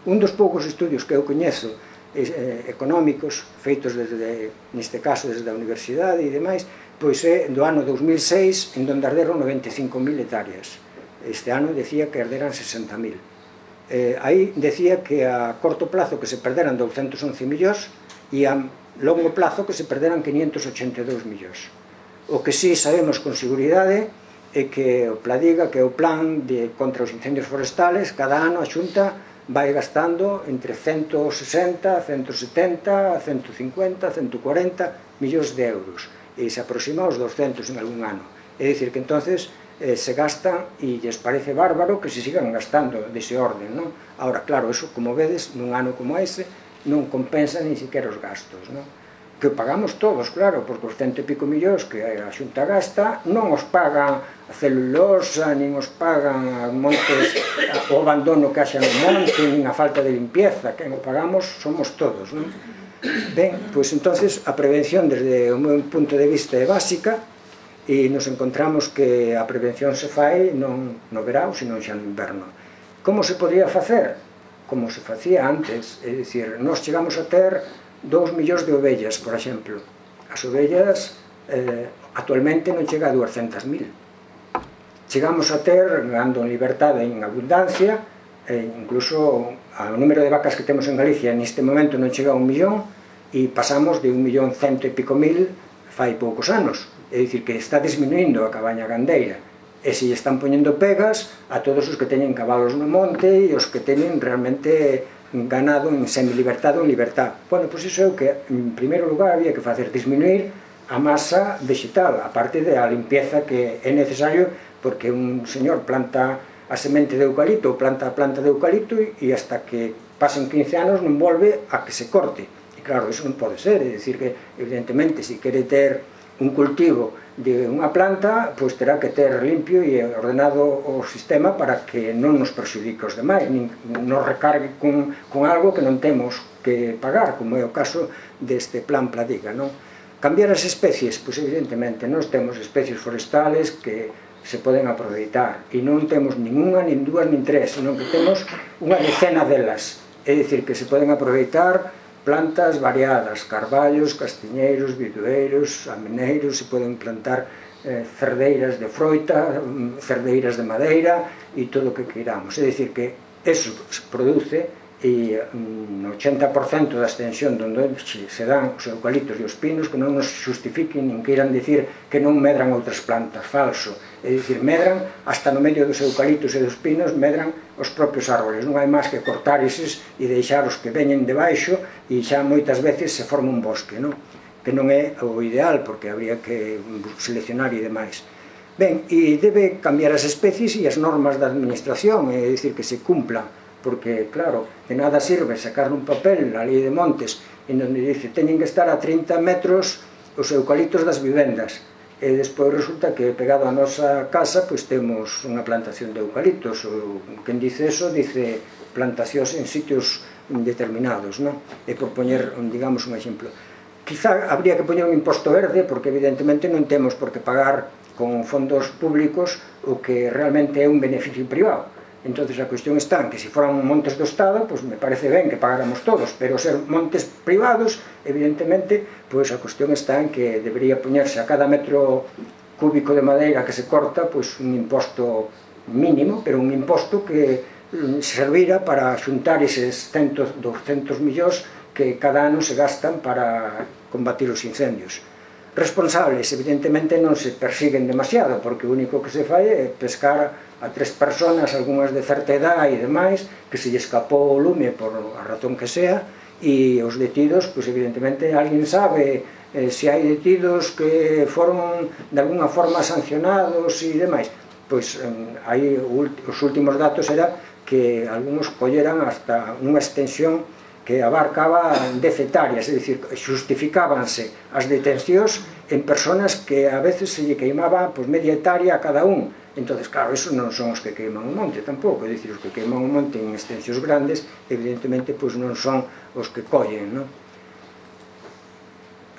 Un dos poucos estudios que eu coñezo eh, económicos feitos desde, neste caso desde a universidade e demais, pois é do ano dos mil seis, en donde arderon noventa e cinco mil hectáreas. Este ano decía que arderan sesenta mil. Eh, aí decía que a corto plazo que se perderan douscentos once millóns e a longo plazo que se perderan quinientos ochenta e dous millóns. O que sí sabemos con seguridade é que o Pladiga, que é o plan de, contra os incendios forestales, cada ano a Xunta vai gastando entre ciento sesenta, ciento setenta, ciento cincuenta, ciento cuarenta millóns de euros e se aproxima aos doscentos en algún ano. É dicir que entonces eh, se gastan e lles parece bárbaro que se sigan gastando dese orden, non? Ahora, claro, eso, como vedes, nun ano como ese non compensa nin siquiera os gastos, non? que pagamos todos, claro, porque os cento e pico millóns que a Xunta gasta non os pagan a celulosa, nin os pagan a montes, o abandono que haxa no monte, nin a falta de limpieza, que o pagamos somos todos, non? Ben, pois entonces a prevención desde o meu punto de vista é básica e nos encontramos que a prevención se fai non no verão, sino xa no inverno. Como se podría facer? Como se facía antes, é dicir, nós chegamos a ter dous millóns de ovellas, por exemplo. As ovellas eh, actualmente non chega a duascentas mil. Chegamos a ter, ganando en libertade e en abundancia, eh, incluso o número de vacas que temos en Galicia neste momento non chega a un millón e pasamos de un millón cento e pico mil fai poucos anos. É dicir, que está disminuindo a cabaña gandeira. E se lle están poñendo pegas a todos os que teñen cabalos no monte e os que teñen realmente ganado en semilibertad ou libertad. Bueno, pois iso é o que, en primeiro lugar, había que facer, disminuir a masa vegetal, a parte da limpieza que é necesario, porque un señor planta a semente de eucalipto ou planta a planta de eucalipto e hasta que pasen quince anos non volve a que se corte. E claro, iso non pode ser, é dicir que, evidentemente, se quere ter un cultivo de unha planta, pois terá que ter limpio e ordenado o sistema para que non nos perxudique os demais, nin nos recargue con, con algo que non temos que pagar, como é o caso deste plan Pladiga, non? Cambiar as especies, pois evidentemente, nós temos especies forestales que se poden aproveitar, e non temos nin unha, nin dúas, nin tres, senón que temos unha decena delas, é dicir, que se poden aproveitar plantas variadas, carballos, castiñeiros, bidueiros, ameneiros, se poden plantar eh, cerdeiras de froita, cerdeiras de madeira e todo o que queiramos. É dicir, que eso se produce e no ochenta por cento da extensión onde se dan os eucaliptos e os pinos que non nos justifiquen nin queiran dicir que non medran outras plantas, falso. É dicir, medran hasta no medio dos eucaliptos e dos pinos, medran os propios árboles. Non hai máis que cortar eses e deixar os que veñen debaixo e xa moitas veces se forma un bosque, non? Que non é o ideal, porque habría que seleccionar e demais. Ben, e debe cambiar as especies e as normas da administración, é dicir, que se cumplan, porque, claro, de nada sirve sacar un papel a lei de montes en onde dice teñen que estar a trinta metros os eucaliptos das vivendas e despois resulta que pegado a nosa casa pois temos unha plantación de eucaliptos, ou quen dice eso dice plantacións en sitios determinados, non? E por poñer, digamos, un exemplo, quizá habría que poñer un imposto verde, porque evidentemente non temos por que pagar con fondos públicos o que realmente é un beneficio privado. Entonces a cuestión está en que se foran montes do Estado, pois me parece ben que pagáramos todos, pero ser montes privados, evidentemente, pois a cuestión está en que debería poñerse a cada metro cúbico de madeira que se corta, pois un imposto mínimo, pero un imposto que servira para xuntar eses cen, doscentos millóns que cada ano se gastan para combatir os incendios. Responsables, evidentemente, non se persiguen demasiado, porque o único que se fai é pescar a tres personas, algunhas de certa edad e demais, que se lle escapou o lume por a razón que sea, e os detidos, pois evidentemente, alguén sabe eh, se hai detidos que foron de alguna forma sancionados e demais. Pois eh, aí os últimos datos era que algúns colleran hasta unha extensión que abarcaba dez hectáreas, é dicir, justificábanse as detencións en personas que a veces se lle queimaba pois, media hectárea a cada un. Entón, claro, esos non son os que queiman o monte tampouco, é dicir, os que queiman o monte en extensións grandes, evidentemente, pois non son os que collen, non?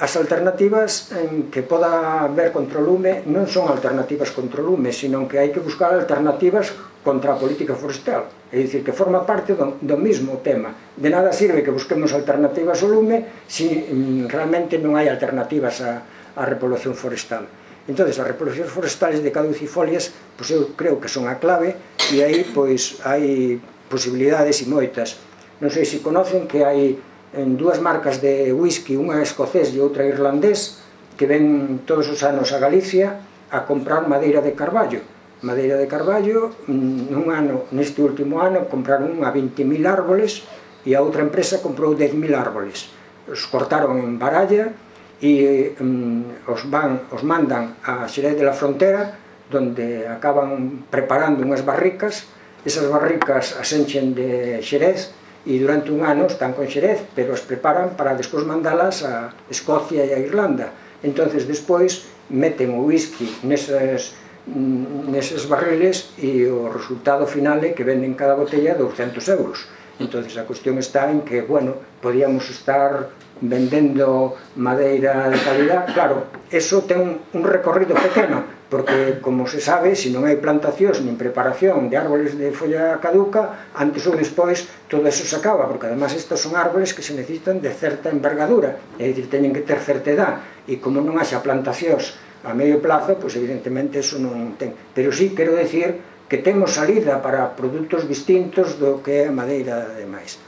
As alternativas en que poda haber contra o lume non son alternativas contra o lume, sino que hai que buscar alternativas contra a política forestal. É dicir, que forma parte do, do mismo tema. De nada sirve que busquemos alternativas ao lume se realmente non hai alternativas á, á repoblación forestal. Entón, as repoblacións forestales de caducifolias, pois eu creo que son a clave, e aí pois hai posibilidades e moitas. Non sei se conocen que hai en dúas marcas de whisky, unha escocés e outra irlandés, que ven todos os anos a Galicia a comprar madeira de carballo. Madeira de carballo, nun ano, neste último ano, compraron a vinte mil árboles e a outra empresa comprou dez mil árboles. Os cortaron en Baralla e um, os, van, os mandan a Xerez de la Frontera, donde acaban preparando unhas barricas. Esas barricas as enchen de Xerez e durante un ano están con Xerez, pero as preparan para despois mandalas a Escocia e a Irlanda. Entonces despois meten o whisky neses, neses barriles e o resultado final é que venden cada botella douscentos euros. Entonces a cuestión está en que, bueno, podíamos estar vendendo madeira de calidad. Claro, eso ten un recorrido pequeno, porque, como se sabe, se non hai plantacións nin preparación de árboles de folla caduca, antes ou despois todo eso se acaba, porque además estos son árboles que se necesitan de certa envergadura, é dicir, teñen que ter certa edad, e como non haxa plantacións a medio plazo, pois evidentemente eso non ten. Pero sí, quero decir que temos salida para produtos distintos do que é a madeira e demais.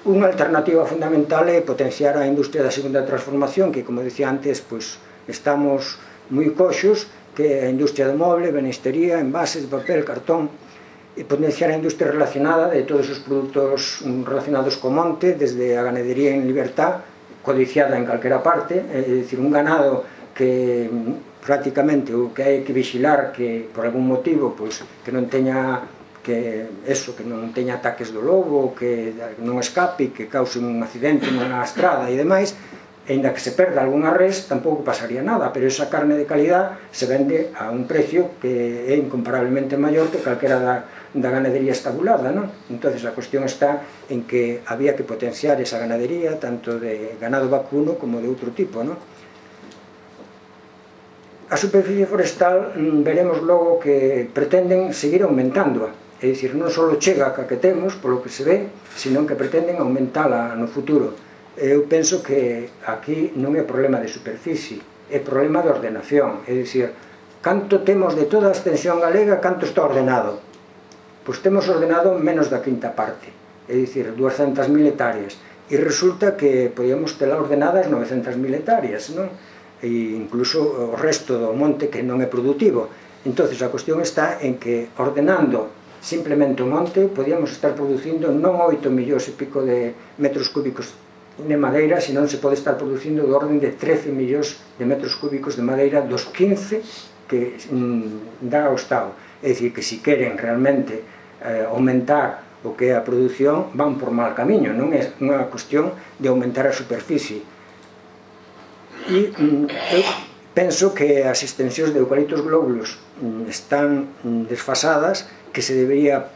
Unha alternativa fundamental é potenciar a industria da segunda transformación, que, como dicía antes, pois estamos moi coxos, que é a industria do moble, benistería, envases de papel, cartón, e potenciar a industria relacionada de todos os produtos relacionados co monte, desde a ganadería en libertad, codiciada en calquera parte, é dicir, un ganado que prácticamente o que hai que vixilar que por algún motivo pois, que non teña que eso, que non teña ataques do lobo, que non escape, que cause un accidente nunha estrada e demais, e ainda que se perda algunha res, tampouco pasaría nada, pero esa carne de calidad se vende a un precio que é incomparablemente maior que calquera da, da ganadería estabulada, non? Entón, a cuestión está en que había que potenciar esa ganadería, tanto de ganado vacuno como de outro tipo, non? A superficie forestal veremos logo que pretenden seguir aumentándoa, é dicir, non só chega a que temos, polo que se ve, sino que pretenden aumentala no futuro. Eu penso que aquí non é problema de superficie, é problema de ordenación, é dicir, canto temos de toda a extensión galega, canto está ordenado? Pois temos ordenado menos da quinta parte, é dicir, duascentas mil hectáreas, e resulta que podíamos tela ordenadas novecentas mil hectáreas, non? E incluso o resto do monte que non é productivo. Entón, a cuestión está en que ordenando simplemente o monte podíamos estar producindo non oito millóns e pico de metros cúbicos de madeira, senón se pode estar producindo do orden de trece millóns de metros cúbicos de madeira dos quince que mm, dá o Estado. É dicir, que se queren realmente eh, aumentar o que é a produción, van por mal camiño, non é unha cuestión de aumentar a superficie. E mm, eu penso que as extensións de eucaliptos glóbulos mm, están mm, desfasadas, que se debería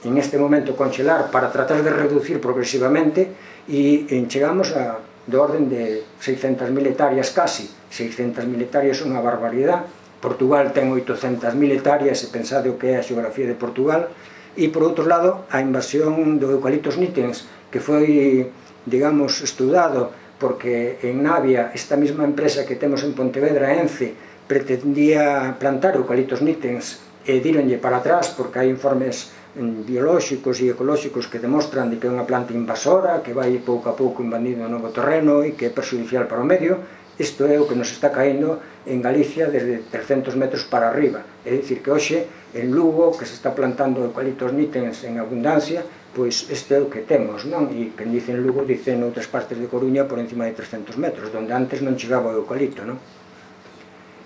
en este momento congelar para tratar de reducir progresivamente, e chegamos a do orden de seiscentas mil hectáreas casi. seiscentas mil hectáreas é unha barbaridade. Portugal ten oitocentas mil hectáreas, e pensade o que é a xeografía de Portugal. E por outro lado, a invasión do eucaliptos nitens, que foi, digamos, estudado porque en Navia esta mesma empresa que temos en Pontevedra, Ence, pretendía plantar eucaliptos nitens e díronlle para atrás porque hai informes biolóxicos e ecolóxicos que demostran de que é unha planta invasora, que vai pouco a pouco invadindo o novo terreno e que é perjudicial para o medio. Isto é o que nos está caendo en Galicia desde trescentos metros para arriba. É dicir, que hoxe en Lugo, que se está plantando eucaliptos nitens en abundancia, pois este é o que temos, non? E quen dice en Lugo, dice en outras partes de Coruña por encima de trescentos metros, onde antes non chegaba o eucalipto, non?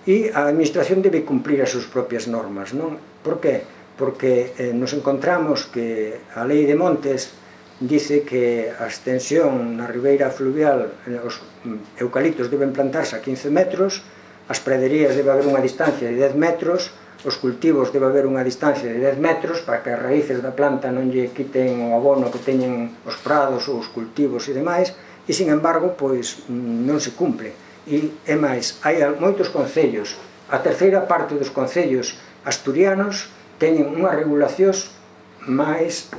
E a administración debe cumprir as súas propias normas, non? Por que? Porque eh, nos encontramos que a lei de montes dice que a extensión na ribeira fluvial, os eucaliptos deben plantarse a quince metros, as praderías debe haber unha distancia de dez metros, os cultivos debe haber unha distancia de dez metros para que as raíces da planta non lle quiten o abono que teñen os prados ou os cultivos e demais, e, sin embargo, pois non se cumple. E, é máis, hai moitos concellos, a terceira parte dos concellos asturianos teñen unhas regulacións máis,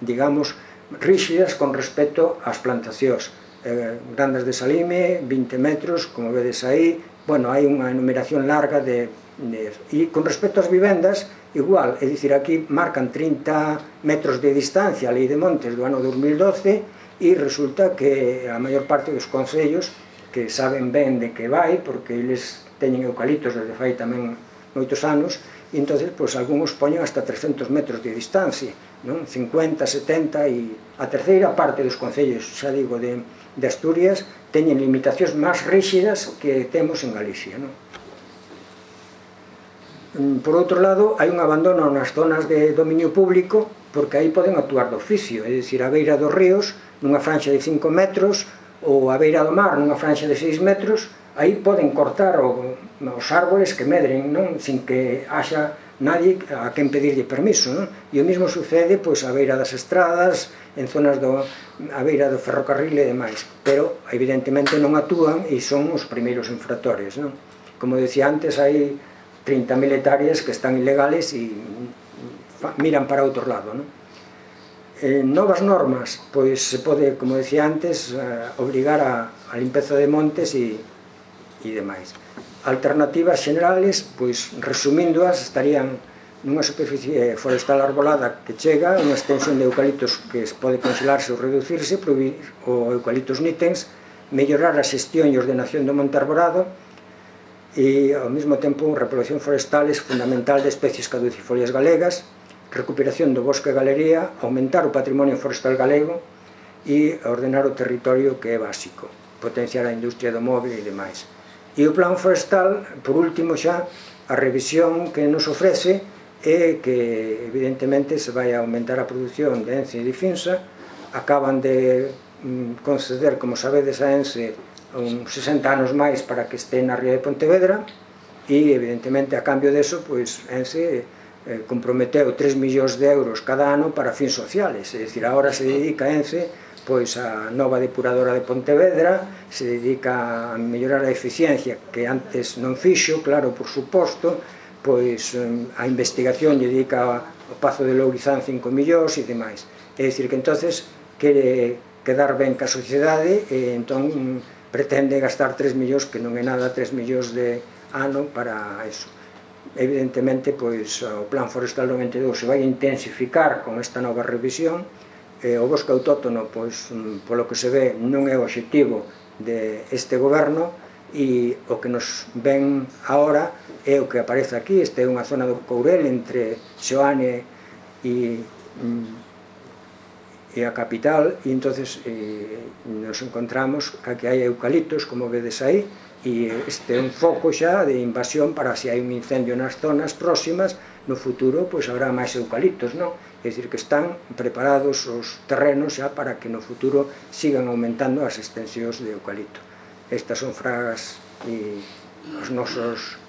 digamos, ríxidas con respecto ás plantacións. Eh, Grandas de Salime, vinte metros, como vedes aí, bueno, hai unha enumeración larga de, de... E con respecto ás vivendas, igual, é dicir, aquí marcan trinta metros de distancia a Lei de Montes do ano dos mil doce, e resulta que a maior parte dos concellos que saben ben de que vai, porque eles teñen eucaliptos desde fai tamén moitos anos, e entón, pois, algúns poñen hasta trescentos metros de distancia, non? cincuenta, setenta, e a terceira parte dos concellos, xa digo, de, de Asturias, teñen limitacións máis ríxidas que temos en Galicia, non? Por outro lado, hai un abandono nas zonas de dominio público, porque aí poden actuar de oficio, é dicir, a beira dos ríos, nunha franxa de cinco metros, ou a beira do mar, nunha franxa de seis metros, aí poden cortar os árboles que medren, non? Sin que haxa nadie a quen pedirlle permiso, non? E o mesmo sucede pois a beira das estradas, en zonas do a beira do ferrocarril e demais, pero evidentemente non actúan e son os primeiros infractores, non? Como decía antes, hai trinta mil hectáreas que están ilegales e miran para outro lado, non? Eh, novas normas, pois se pode, como decía antes, eh, obrigar a, a limpeza de montes e, e demais. Alternativas generales, pois resumíndoas, estarían nunha superficie forestal arbolada que chega, unha extensión de eucaliptos que pode congelarse ou reducirse, prohibir o eucaliptos nitens, mellorar a xestión e ordenación do monte arborado, e ao mesmo tempo a reproducción forestal é fundamental de especies caducifolias galegas, recuperación do bosque e galería, aumentar o patrimonio forestal galego e ordenar o territorio, que é básico, potenciar a industria do móvil e demais. E o plan forestal, por último xa, a revisión que nos ofrece é que evidentemente se vai a aumentar a produción de Ence e de Finsa, acaban de conceder, como sabedes, a Ence uns sesenta anos máis para que este na ría de Pontevedra e evidentemente a cambio deso pois Ence eh, comprometeu tres millóns de euros cada ano para fins sociales, é dicir, agora se dedica Ence pois a nova depuradora de Pontevedra, se dedica a mellorar a eficiencia que antes non fixo, claro, por suposto, pois a investigación lle dedica ao Pazo de Lourizán cinco millóns e demais, é dicir que entonces quere quedar ben ca sociedade e entón pretende gastar tres millóns, que non é nada, tres millóns de ano para eso. Evidentemente, pois, o plan forestal do noventa e dous se vai intensificar con esta nova revisión. O bosque autóctono, pois, polo que se ve, non é o obxectivo deste goberno e o que nos ven agora é o que aparece aquí. Esta é unha zona do Courel entre Seoane e e a capital, e entonces eh, nos encontramos a que hai eucaliptos, como vedes aí, e este é un foco xa de invasión para se hai un incendio nas zonas próximas, no futuro pois habrá máis eucaliptos, non? É dicir, que están preparados os terrenos xa para que no futuro sigan aumentando as extensións de eucalipto. Estas son fragas e os nosos...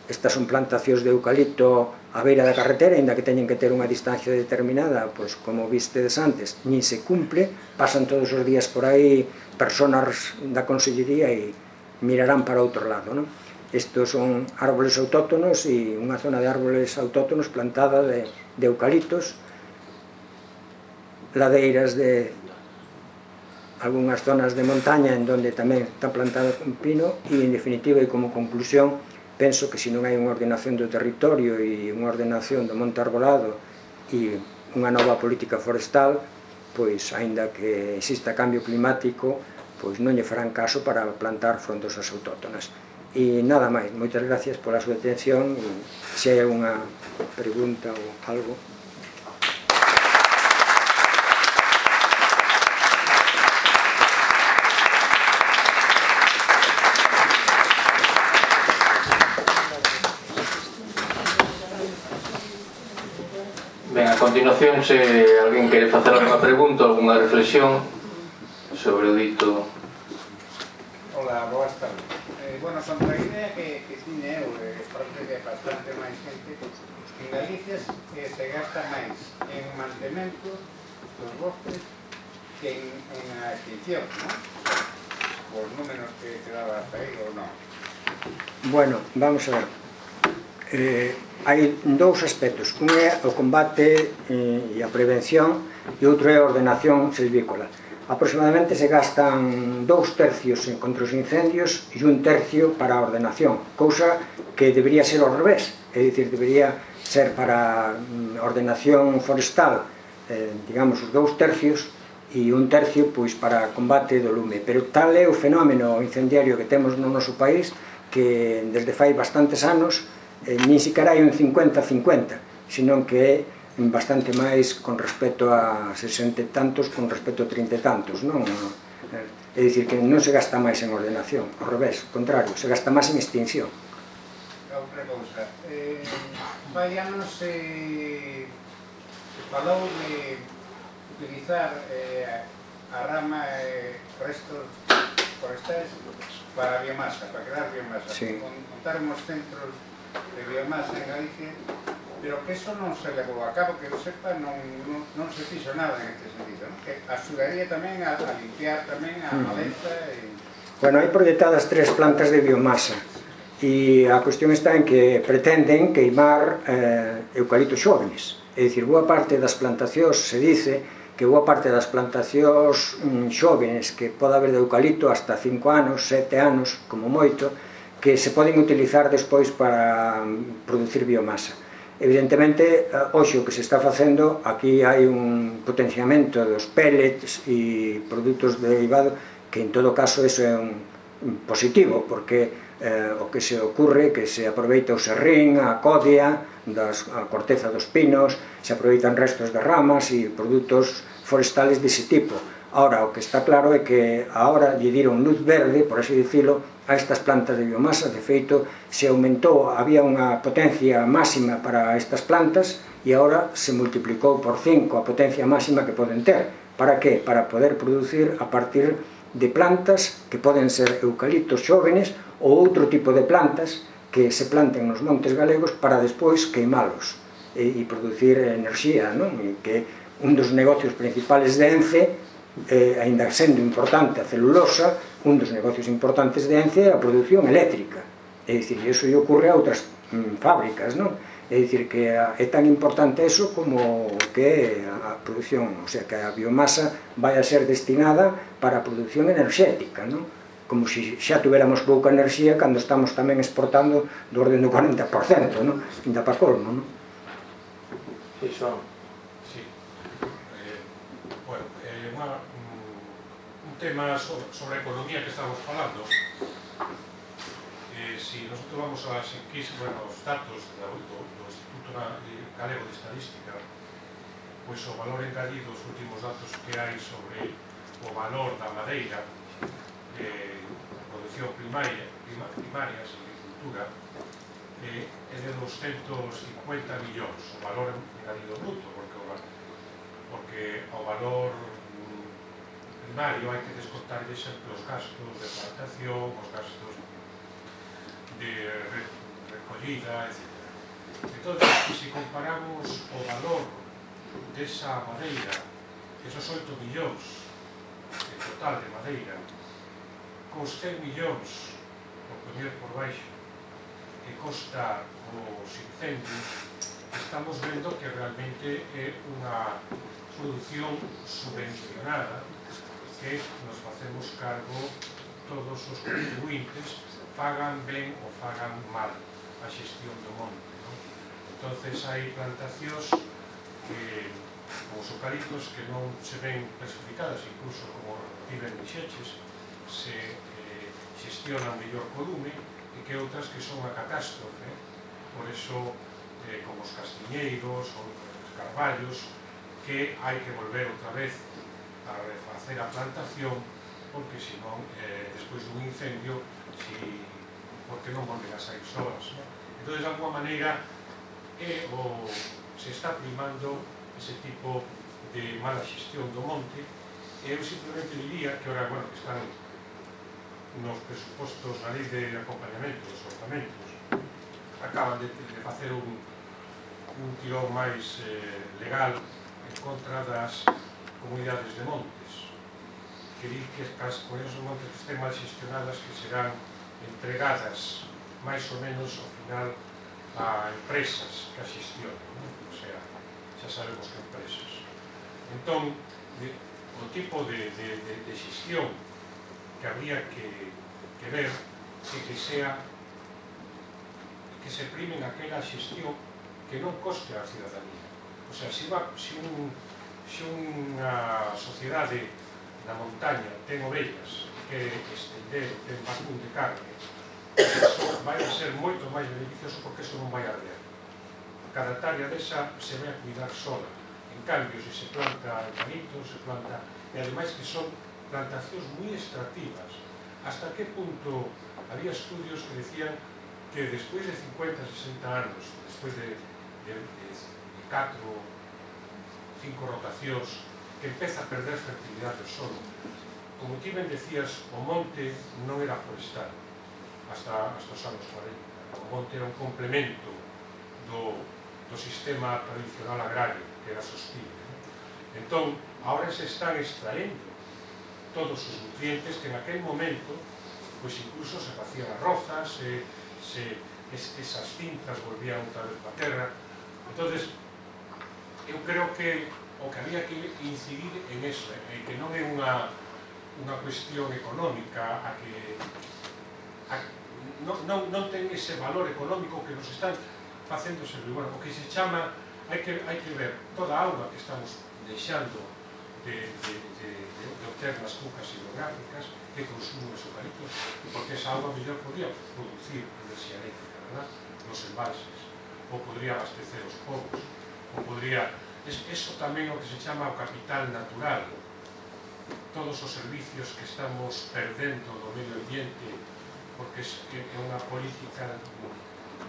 Estas son plantacións de eucalipto á beira da carretera, ainda que teñen que ter unha distancia determinada, pois como vistedes antes, nin se cumple, pasan todos os días por aí personas da Consellería e mirarán para outro lado, non? Estos son árboles autóctonos e unha zona de árboles autóctonos plantada de, de eucaliptos, ladeiras de algunhas zonas de montaña en donde tamén está plantado un pino e, en definitiva, e como conclusión, penso que se non hai unha ordenación do territorio e unha ordenación do monte arbolado e unha nova política forestal, pois, aínda que exista cambio climático, pois non lle farán caso para plantar frondosas autóctonas. E nada máis, moitas gracias pola súa atención e se hai unha pregunta ou algo. Ben, a continuación, se alguén quere facer alguna pregunta, alguna reflexión sobre o dito. Hola, boas tardes. Eh, bueno, son a idea que, que tiñe eu, eh, parte de bastante máis gente, en Galicia eh, se gasta máis en mantemento dos bosques que en, en a extinción, non? Por números que te daba hasta aí ou non? Bueno, vamos a ver. Eh, hai dous aspectos, un é o combate eh, e a prevención e outro é a ordenación silvícola. Aproximadamente se gastan dous tercios contra os incendios e un tercio para a ordenación, cousa que debería ser ao revés, é dicir, debería ser para a ordenación forestal, eh, digamos, os dous tercios e un tercio pois para combate do lume, pero tal é o fenómeno incendiario que temos no noso país que desde fai bastantes anos Eh, nin siquiera hai un cincuenta cincuenta, senón que é bastante máis con respecto a sesenta e tantos con respecto a trinta e tantos, non? É dicir, que non se gasta máis en ordenación, ao revés, ao contrario, se gasta máis en extinción. outra cousa. Eh, vai anos se falou de utilizar eh, a rama e eh, restos forestais para a biomasa, para crear biomasa. Sí. Montar uns centros de biomasa en Galicia, pero que eso non se levou a cabo, que eu sepa, non, non, non se fixo nada en este sentido, ¿no? Que axudaría tamén a, a limpiar tamén a maleza e... Bueno, hai proyectadas tres plantas de biomasa e a cuestión está en que pretenden queimar eh, eucaliptos xóvenes. É dicir, boa parte das plantacións se dice que boa parte das plantacións mm, xóvenes que pode haber de eucalipto hasta cinco anos, sete anos, como moito, que se poden utilizar despois para producir biomasa. Evidentemente, hoxe o que se está facendo, aquí hai un potenciamento dos pellets e produtos derivados, que en todo caso eso é un positivo, porque eh, o que se ocurre que se aproveita o serrín, a codia, das, a corteza dos pinos, se aproveitan restos de ramas e produtos forestales dese tipo. Ahora, o que está claro é que agora lle diron luz verde, por así dicilo, a estas plantas de biomasa. De feito, se aumentou, había unha potencia máxima para estas plantas e agora se multiplicou por cinco a potencia máxima que poden ter. Para que? Para poder producir a partir de plantas que poden ser eucaliptos xóvenes ou outro tipo de plantas que se planten nos montes galegos para despois queimalos e, e producir enerxía, non? E que un dos negocios principales de Ence, eh, ainda sendo importante a celulosa, un dos negocios importantes de Ence é a produción eléctrica. É dicir, iso lle ocurre a outras mm, fábricas, non? É dicir, que é tan importante eso como que a produción, o sea, que a biomasa vai a ser destinada para a produción enerxética, non? Como se xa tuviéramos pouca enerxía cando estamos tamén exportando do orden do cuarenta por cento, non? Ainda para colmo, non? Sí, son. Sí. Eh, bueno, eh, una, un tema sobre, sobre economía que estamos falando. Eh, si nosotros vamos a las enquisas, bueno, os datos do, do, do Instituto Galego de Estadística, pois o valor engadido, os últimos datos que hai sobre o valor da madeira, eh, produción primaria, prima, primaria, agricultura, eh, é de doscientos cincuenta millóns, o valor engadido bruto, porque o, porque ao valor primario hai que descontar sempre os gastos de plantación, os gastos de recollida, etcétera. Entón, se comparamos o valor desa madeira, esos oito millóns en total de madeira, cos cen millóns, por poñer por baixo, que costa os incendios, estamos vendo que realmente é unha produción subvencionada que nos facemos cargo todos os contribuintes, pagan ben ou pagan mal a xestión do monte, non? Entonces hai plantacións que, como os eucaliptos, que non se ven clasificadas, incluso como tiven dixeches, se eh, xestiona mellor co lume, e que outras que son a catástrofe. Por eso, eh, como os castiñeiros ou os carballos, que hai que volver outra vez a refacer a plantación, porque senón, eh, despois dun incendio, si, porque non volven a sair soas, ¿no? Entón, de alguma maneira, eh, o, se está primando ese tipo de mala xestión do monte. E eu simplemente diría que, ora, bueno, que están nos presupostos na lei de acompañamento dos orzamentos, acaban de, de facer un, un tirón máis eh, legal en contra das comunidades de montes, que di que as comunidades de montes que estén mal xestionadas que serán entregadas máis ou menos ao final a empresas que a xestionan, ¿no? O sea, xa sabemos que empresas. Entón, de, o tipo de, de, de, de xestión que habría que, que ver é que sea que se primen aquela xestión que non coste a cidadanía. O sea, se, va, se, un, se unha sociedade na montaña ten ovellas que estender, ten vacún de carne, eso vai a ser moito máis beneficioso porque eso non vai a arder. Cada hectárea desa se vai a cuidar sola. En cambio, se se planta eucalipto, se planta... E ademais que son plantacións moi extractivas. Hasta que punto había estudios que decían que que despois de cincuenta, sesenta anos, despois de, de, de, de catro, cinco rotacións, que empeza a perder fertilidade do solo. Como ti ben decías, o monte non era forestal hasta, hasta os anos cuarenta. O monte era un complemento do, do sistema tradicional agrario, que era sostible. Entón, agora se están extraendo todos os nutrientes que en aquel momento, pois incluso se facían arrozas, se, se, es, esas cintas volvían outra vez para a terra. Entonces, eu creo que o que había que incidir en eso, é que non é unha, unha cuestión económica a que a, non, non, non ten ese valor económico que nos están facendo servir. Bueno, o que se chama, hai que, hai que ver toda a auga que estamos deixando de, de, de, de, de obter nas cucas hidrográficas que consumen os eucaliptos, porque esa auga mellor podría producir enerxía eléctrica, verdad? Nos embalses, ou podría abastecer os povos, ou podría... Es, eso tamén é o que se chama o capital natural. Todos os servicios que estamos perdendo do medio ambiente, porque é unha política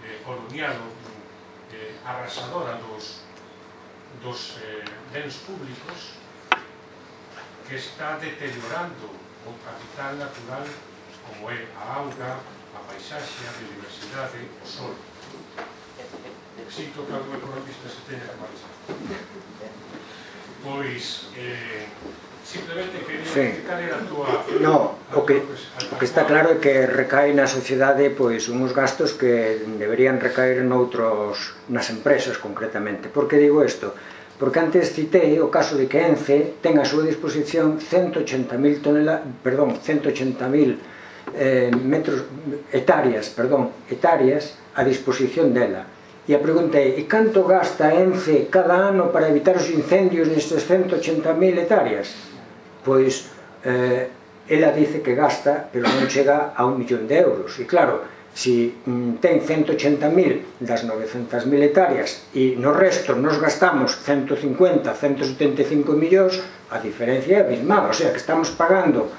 eh, colonial, eh, arrasadora dos, dos eh, bens públicos, que está deteriorando o capital natural como é a auga, a paisaxe, a biodiversidade, o sol. Sinto que algún economista se teña que marchar. Pois, eh, simplemente quería sí. Cal era a túa... No, o que, o que está claro é que recae na sociedade pois uns gastos que deberían recaer noutros, nas empresas concretamente. Por que digo isto? Porque antes citei o caso de que Ence ten a súa disposición ciento ochenta mil toneladas, perdón, ciento ochenta mil eh, metros, hectáreas, perdón, hectáreas a disposición dela. E a pregunta é, e canto gasta Ence cada ano para evitar os incendios nestes ciento ochenta mil hectáreas? Pois, eh, ela dice que gasta, pero non chega a un millón de euros. E claro, se mm, ten ciento ochenta mil das novecentas mil hectáreas e no resto nos gastamos ciento cincuenta, ciento setenta e cinco millóns, a diferencia é abismal. O sea, que estamos pagando,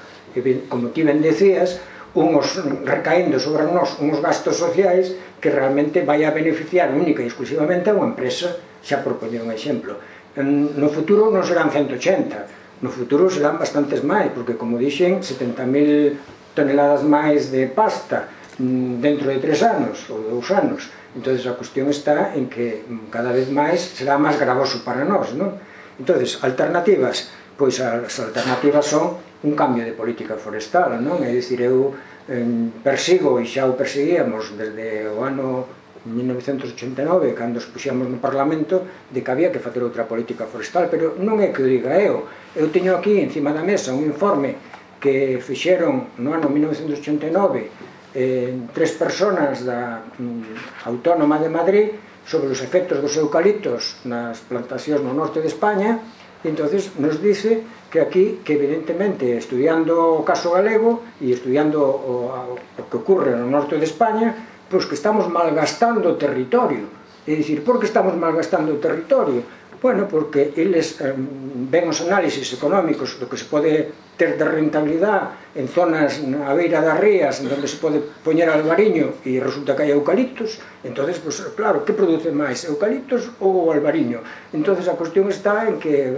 como ti ben decías, unhos recaendo sobre nós unhos gastos sociais que realmente vai a beneficiar única e exclusivamente a unha empresa. Xa propoñer un exemplo. No futuro non serán ciento ochenta, no futuro serán bastantes máis, porque, como dixen, setenta mil toneladas máis de pasta dentro de tres anos ou dous anos. Entón, a cuestión está en que cada vez máis será máis gravoso para nós, non? Entón, alternativas, pois as alternativas son un cambio de política forestal, non? É dicir, eu eh, persigo, e xa o perseguíamos desde o ano mil novecentos ochenta e nove, cando os puxamos no Parlamento, de que había que facer outra política forestal, pero non é que o diga eu. Eu teño aquí, encima da mesa, un informe que fixeron no ano mil novecentos ochenta e nove eh, tres personas da mm, Autónoma de Madrid sobre os efectos dos eucaliptos nas plantacións no norte de España. E entonces nos dice que aquí, que evidentemente estudiando o caso galego e estudiando o, o que ocurre no norte de España, pois que estamos malgastando o territorio. É dicir, por que estamos malgastando o territorio? Bueno, porque eles eh, ven os análisis económicos do que se pode ter de rentabilidade en zonas na beira das rías onde se pode poñer albariño e resulta que hai eucaliptos. Entonces, pues, claro, que produce máis, eucaliptos ou o albariño? Entonces a cuestión está en que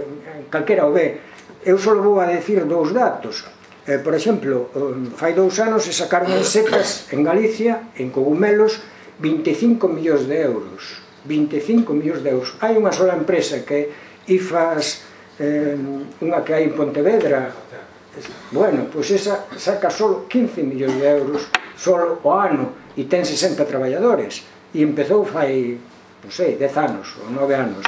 calquera o ve. Eu só vou a decir dous datos. Eh, por exemplo, fai dous anos se sacaron en secas en Galicia, en cogumelos, vinte e cinco millóns de euros. vinte e cinco millóns de euros. Hai unha sola empresa que I F A S, eh, unha que hai en Pontevedra, bueno, pois esa saca só quince millóns de euros só o ano e ten sesenta traballadores e empezou fai, non sei, dez anos ou nove anos.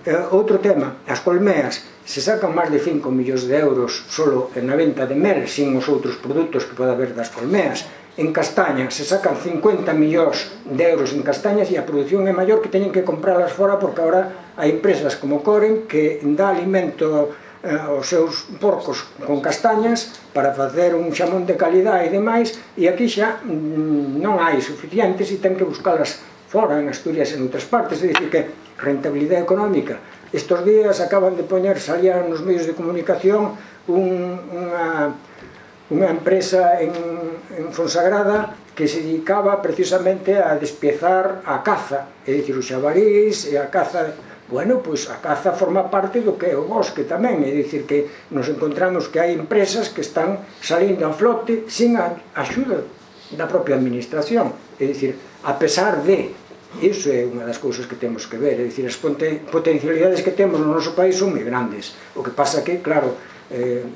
Eh, outro tema, as colmeas se sacan máis de cinco millóns de euros só na venta de mel, sin os outros produtos que pode haber das colmeas. En castaña se sacan cincuenta millóns de euros en castañas e a produción é maior que teñen que comprarlas fora, porque agora hai empresas como Coren que dá alimento eh, aos seus porcos con castañas para facer un xamón de calidade e demais, e aquí xa mm, non hai suficientes e ten que buscalas fora, en Asturias e en outras partes. É dicir, que rentabilidade económica. Estos días acaban de poñer, salían nos medios de comunicación un, unha... unha empresa en, en Fonsagrada que se dedicaba precisamente a despiezar a caza, é dicir, os xabarís e a caza. Bueno, pois a caza forma parte do que é o bosque tamén, é dicir que nos encontramos que hai empresas que están salindo a flote sin a axuda da propia administración, é dicir, a pesar de, iso é unha das cousas que temos que ver, é dicir, as potencialidades que temos no noso país son moi grandes, o que pasa que, claro, eh,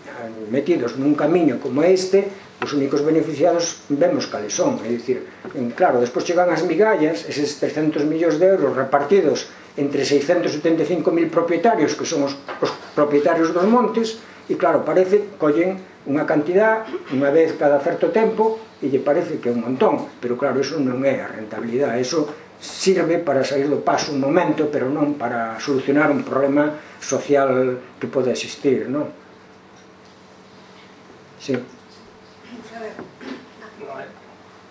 metidos nun camiño como este, os únicos beneficiados vemos cales son, é dicir, claro, despois chegan as migallas, eses trescentos millóns de euros repartidos entre seiscentos setenta e cinco mil propietarios, que son os, os propietarios dos montes, e claro, parece, collen unha cantidad unha vez cada certo tempo, e lle parece que é un montón, pero claro, eso non é a rentabilidade, eso sirve para sair do paso un momento, pero non para solucionar un problema social que pode existir, non? Sí.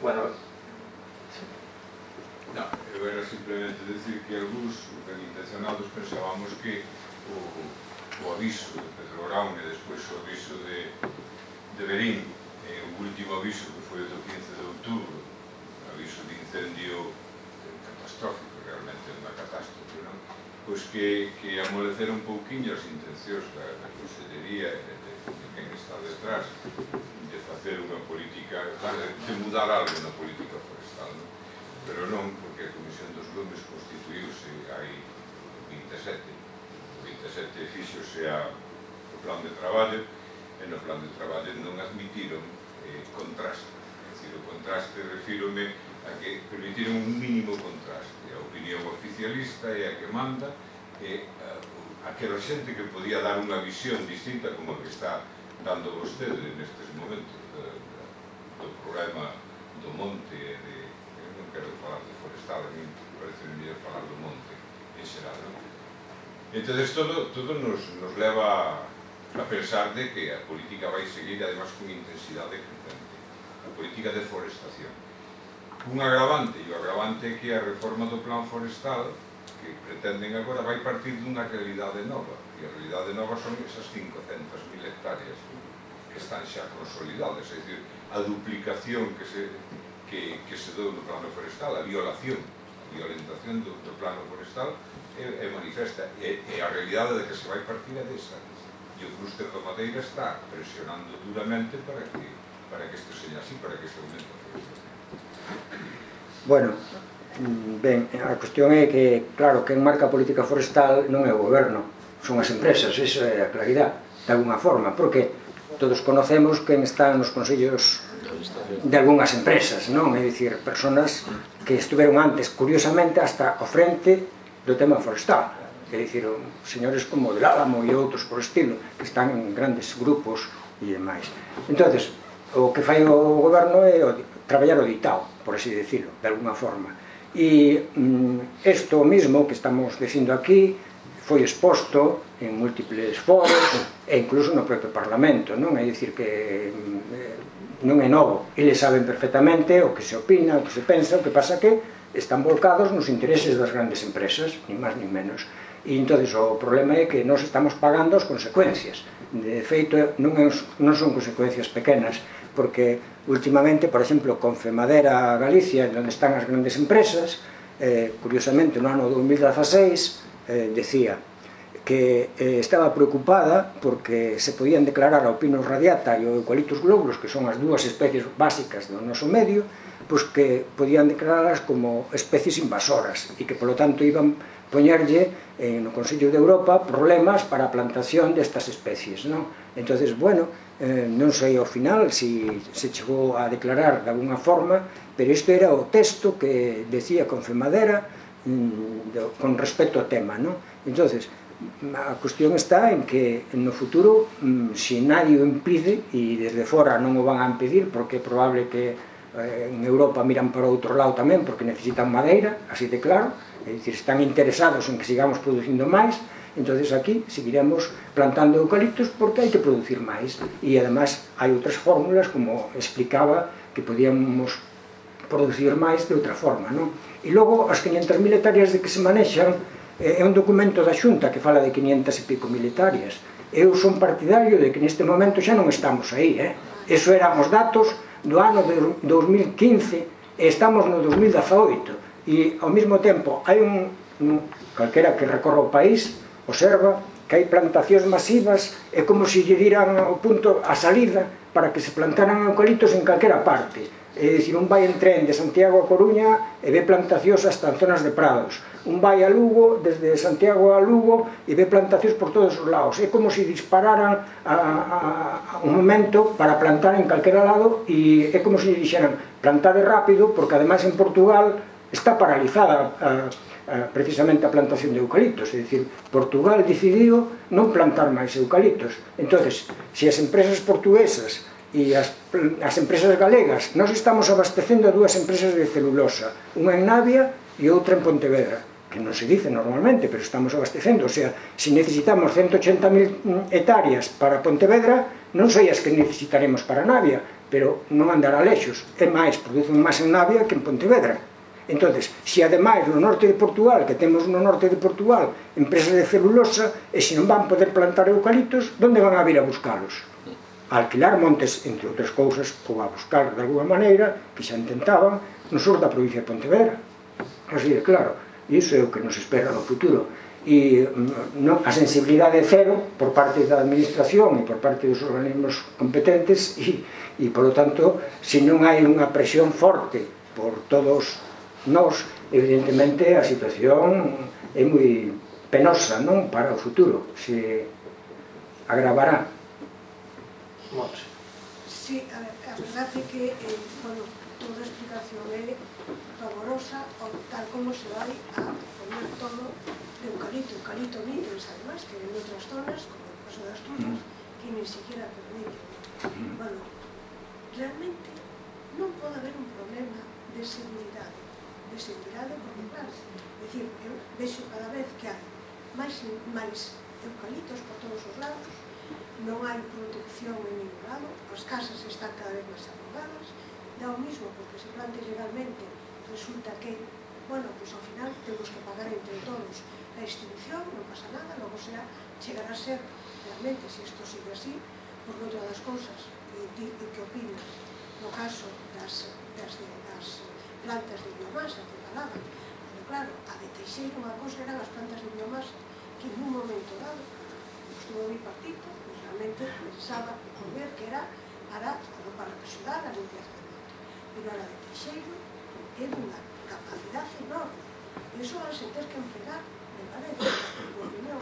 Bueno, no, eu era simplemente decir que algúns ben intencionados pensábamos que o, o aviso de Pedro Brown e despois o aviso de, de Berín e o último aviso que foi o do quince de outubro, o aviso de incendio catastrófico, realmente unha catástrofe, non? Pois que, que amolecer un pouquinho as intencións da, da Consellería e de, de quen está detrás de facer unha política, de mudar algo na política forestal, non? Pero non, porque a Comisión dos Lumes constituíuse hai vinte e sete, vinte e sete fixose a, o plan de traballo, e no plan de traballo non admitiron eh, contraste, é dicir, o contraste refírome a que permitiron un mínimo contraste, a opinión oficialista é a que manda, e a, aquela xente que podía dar unha visión distinta como a que está dando vostede nestes momentos de, de, do problema do monte e de, eu non quero falar de forestal, a mí parece mellor falar do monte en xeral, non? Entón, todo, todo nos, nos leva a pensar de que a política vai seguir además con intensidade crecente, a política de forestación. Un agravante, e o agravante é que a reforma do plan forestal que pretenden agora vai partir dunha realidade nova, e a realidade nova son esas cincocentas mil hectáreas que están xa consolidadas, é dicir, a duplicación que se, que, que se dou no plano forestal, a violación, a violentación do, do plano forestal é, é manifesta, e, e a realidade de que se vai partir é desa, e o clúster da Madeira está presionando duramente para que, para que isto seña así, para que se aumente a forestación. Bueno, ben, a cuestión é que, claro, quen marca a política forestal non é o goberno, son as empresas, iso é a claridade, de alguna forma, porque todos conocemos quen está nos consellos de algunhas empresas, non? É dicir, personas que estuveron antes, curiosamente, hasta ao frente do tema forestal, é dicir, señores como del Álamo e outros por estilo, que están en grandes grupos e demais. Entonces, o que fai o goberno é o, traballar o ditado, por así decirlo, de alguna forma. E isto mm, mismo que estamos dicindo aquí foi exposto en múltiples foros e incluso no propio Parlamento, non? É dicir que mm, non é novo, eles saben perfectamente o que se opina, o que se pensa, o que pasa que están volcados nos intereses das grandes empresas, ni máis ni menos. E entonces o problema é que nós estamos pagando as consecuencias. De feito, non, é, non son consecuencias pequenas, porque últimamente, por exemplo, con Femadera Galicia, onde están as grandes empresas, eh, curiosamente no ano dos mil dieciséis, eh, decía que eh, estaba preocupada porque se podían declarar o Pinus radiata e o Eucalyptus globulus, que son as dúas especies básicas do noso medio, pois que podían declararlas como especies invasoras e que, polo tanto, iban poñerlle eh, no Consello de Europa problemas para a plantación destas especies, non? Entonces, bueno, eh, non sei ao final se si se chegou a declarar de alguna forma, pero isto era o texto que decía con Femadera mm, de, con respecto ao tema, non? Entonces, a cuestión está en que no futuro, mm, se nadie o impide, e desde fora non o van a impedir, porque é probable que eh, en Europa miran para outro lado tamén, porque necesitan madeira, así de claro, é dicir, están interesados en que sigamos producindo máis, entonces aquí seguiremos plantando eucaliptos porque hai que producir máis, e además hai outras fórmulas, como explicaba, que podíamos producir máis de outra forma, non? E logo, as quinhentas mil hectáreas de que se manexan, é un documento da Xunta que fala de quinhentas e pico mil hectáreas. Eu son partidario de que neste momento xa non estamos aí, eh? Eso eran os datos do ano de dos mil quince e estamos no dos mil dezaoito, e ao mesmo tempo hai un, un calquera que recorra o país observa que hai plantacións masivas, é como se lle diran o punto a salida para que se plantaran eucaliptos en calquera parte. É dicir, un vai en tren de Santiago a Coruña e ve plantacións hasta en zonas de prados, un vai a Lugo, desde Santiago a Lugo, e ve plantacións por todos os lados. É como se dispararan a, a, a un momento para plantar en calquera lado, e é como se dixeran plantade rápido, porque ademais en Portugal está paralizada a, a, precisamente a plantación de eucaliptos. É dicir, Portugal decidiu non plantar máis eucaliptos. Entonces, se as empresas portuguesas e as, as empresas galegas, nós estamos abastecendo a dúas empresas de celulosa, unha en Navia e outra en Pontevedra, que non se dice normalmente, pero estamos abastecendo. O sea, se necesitamos ciento ochenta mil hectáreas para Pontevedra, non sei as que necesitaremos para Navia, pero non andará lexos. É máis, producen máis en Navia que en Pontevedra. Entonces, se ademais no norte de Portugal, que temos no norte de Portugal empresas de celulosa, e se non van poder plantar eucaliptos, onde van a vir a buscalos? A alquilar montes, entre outras cousas, ou a buscar de alguma maneira, que xa intentaban, no sur da provincia de Pontevedra. Así de claro, e iso é o que nos espera no futuro. E non, a sensibilidade cero por parte da administración e por parte dos organismos competentes, e, e polo tanto, se non hai unha presión forte por todos nós, evidentemente a situación é moi penosa, non, para o futuro, se agravará. Sí, a, ver, a verdade é que eh, bueno, toda a explicación é favorosa ao tal como se vai a poner todo de eucalipto, eucalipto nidos, además, que en outras zonas, como o caso das Tuzas, que ni siquiera permiten. Bueno, realmente non pode haber un problema de seguridade, de seguridade porque, claro, é dicir, eu vexo cada vez que hai máis, máis eucaliptos por todos os lados, non hai protección en ningún lado, as casas están cada vez máis arrugadas, dá o mismo porque se plante legalmente, resulta que, bueno, pues ao final temos que pagar entre todos a extinción, non pasa nada, logo será, chegará a ser realmente, se isto sigue así, por outra das cousas, e que opinas no caso das, das, das plantas de biomasa que falaban, pero claro, a de Teixeira unha cousa eran as plantas de biomasa que en un momento dado estuvo o bipartito, realmente pensaba ver que era para, para axudar a limpieza do monte, pero a de Teixeira é dunha capacidade enorme, e iso van se ter que empregar, me parece, por opinión,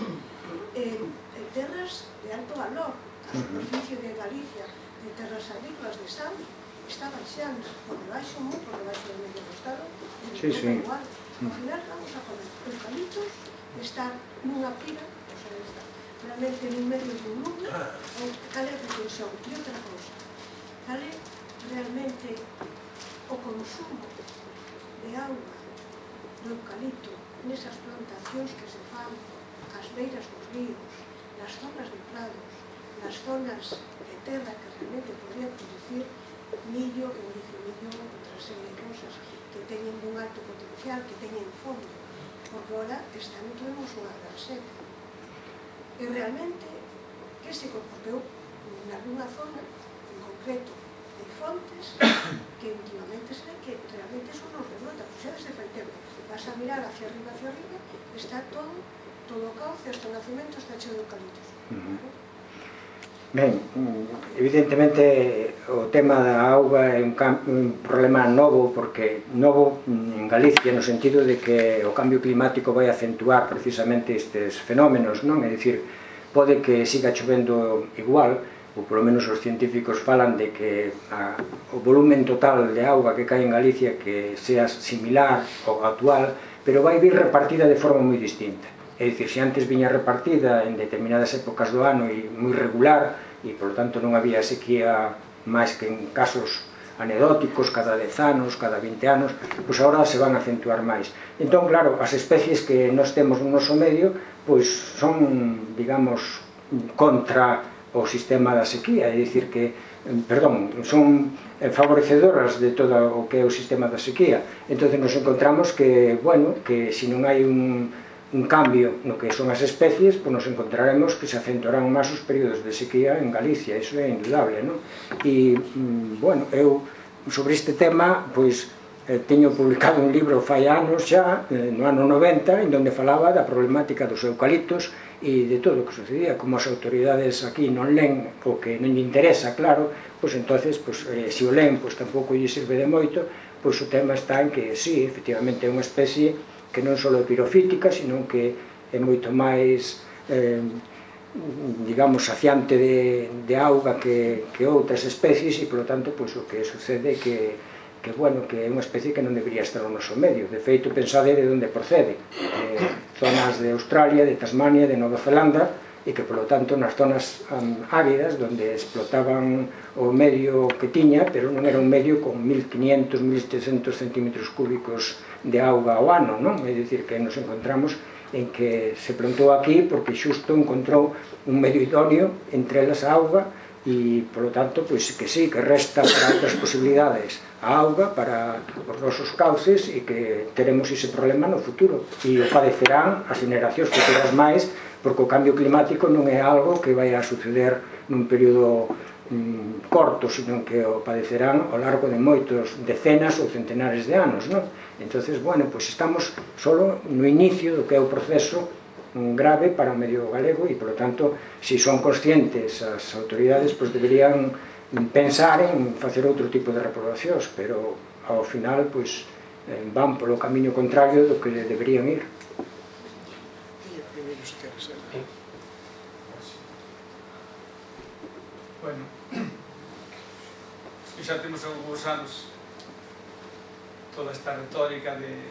en, en terras de alto valor. A superficie de Galicia de terras agrícolas de Sal está baixando por debaixo, moi por debaixo do medio do Estado, e sí, sí. Igual. Ao final vamos a poner eucaliptos, estar nunha pira, o sea, está realmente nun medio dun mundo, ou cal é a reflexión? E outra cousa, cal é realmente o consumo de auga do eucalipto nesas plantacións que se fan ás beiras dos ríos, nas zonas de prados, nas zonas de terra que realmente podrían producir millo, que non dice millo, outra serie de cousas que teñen un alto potencial, que teñen fondo, porque ahora este ano tuvemos unha gran seca. E realmente, que se comportou en alguna zona, en concreto, de fontes, que últimamente se ve que realmente son os de brota, pues xa desde fai tempo. Vas a mirar hacia arriba, hacia arriba, está todo, todo o cauce, hasta o nacimento está cheo de eucaliptos. Ben, evidentemente o tema da auga é un, un problema novo, porque novo en Galicia no sentido de que o cambio climático vai acentuar precisamente estes fenómenos, non? É dicir, pode que siga chovendo igual, ou polo menos os científicos falan de que a, o volumen total de auga que cae en Galicia que sea similar ao actual, pero vai vir repartida de forma moi distinta. É dicir, se antes viña repartida en determinadas épocas do ano e moi regular, e, por tanto, non había sequía máis que en casos anedóticos, cada dez anos, cada vinte anos, pois agora se van a acentuar máis. Entón, claro, as especies que nós temos no noso medio, pois son, digamos, contra o sistema da sequía, é dicir que, perdón, son favorecedoras de todo o que é o sistema da sequía. Entón, nos encontramos que, bueno, que se non hai un un cambio no que son as especies, pois nos encontraremos que se acentuarán máis os períodos de sequía en Galicia, iso é indudable, non? E, bueno, eu sobre este tema, pois, eh, teño publicado un libro fai anos xa, eh, no ano noventa, en donde falaba da problemática dos eucaliptos e de todo o que sucedía. Como as autoridades aquí non len o que non lle interesa, claro, pois entonces, pois, eh, se o len, pois tampouco lle sirve de moito, pois o tema está en que, sí, efectivamente é unha especie que non só é pirofítica, sino que é moito máis, eh, digamos, saciante de, de auga que, que outras especies e, polo tanto, pois, o que sucede é que, que, bueno, que é unha especie que non debería estar no noso medio. De feito, pensade de onde procede. Eh, zonas de Australia, de Tasmania, de Nova Zelanda, e que, polo tanto, nas zonas um, áridas, onde explotaban o medio que tiña, pero non era un medio con mil quinientos, mil setecientos centímetros cúbicos de auga ao ano, non? É dicir, que nos encontramos en que se plantou aquí porque xusto encontrou un medio idóneo, entre elas a auga, e, polo tanto, pois que sí, que resta para outras posibilidades a auga para os nosos cauces e que teremos ese problema no futuro. E o padecerán as generacións futuras máis, porque o cambio climático non é algo que vai a suceder nun período mm, corto, sino que o padecerán ao largo de moitos decenas ou centenares de anos, non? Entonces, bueno, pois estamos solo no inicio do que é o proceso grave para o medio galego e, polo tanto, se son conscientes as autoridades, pois deberían pensar en facer outro tipo de reprobacións, pero ao final, pois, van polo camiño contrario do que deberían ir. Bueno, xa temos algúns anos toda esta retórica de,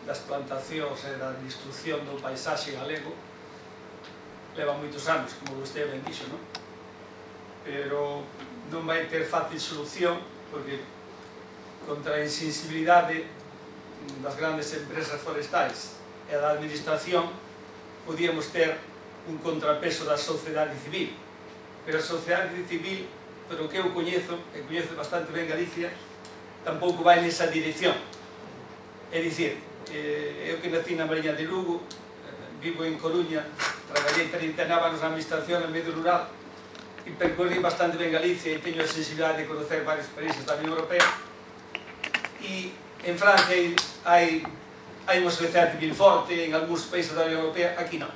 das plantacións e da destrucción do paisaxe galego leva moitos anos, como vostede ben dixo, non? Pero non vai ter fácil solución porque contra a insensibilidade das grandes empresas forestais e da administración podíamos ter un contrapeso da sociedade civil, pero a sociedade civil, pero que eu coñezo, e coñezo bastante ben Galicia, tampouco vai nesa dirección. É dicir, eu que nací na Mariña de Lugo, vivo en Coruña, traballei trinta e nove anos na administración en medio rural e percorri bastante ben Galicia e teño a sensibilidade de conocer varios países da Unión Europea. E en Francia hai, hai unha sociedade civil forte, en algúns países da Unión Europea, aquí non.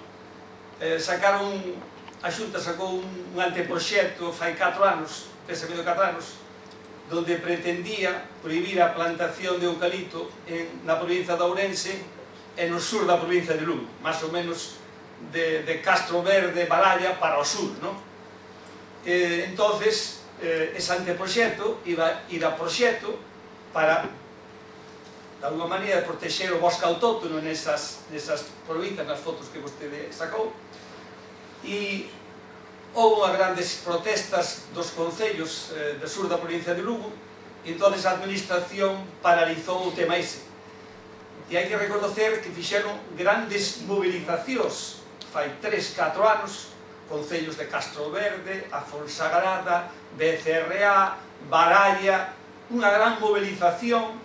Eh, sacaron, a Xunta sacou un, un anteproxecto fai catro anos, pensa medio catro anos, donde pretendía prohibir a plantación de eucalipto en, na provincia de Ourense e no sur da provincia de Lugo, máis ou menos de, de Castro Verde, Baralla, para o sur, non? Eh, entonces, eh, ese anteproxecto iba ir a proxecto para, de alguma maneira, protexer o bosque autóctono nesas, nesas provincias, nas fotos que vostede sacou, e houve grandes protestas dos concellos eh, do sur da provincia de Lugo e entón a administración paralizou o tema ese. E hai que reconocer que fixeron grandes movilizacións fai tres, catro anos, concellos de Castro Verde, A Fonsagrada, B C R A, Baralla, unha gran movilización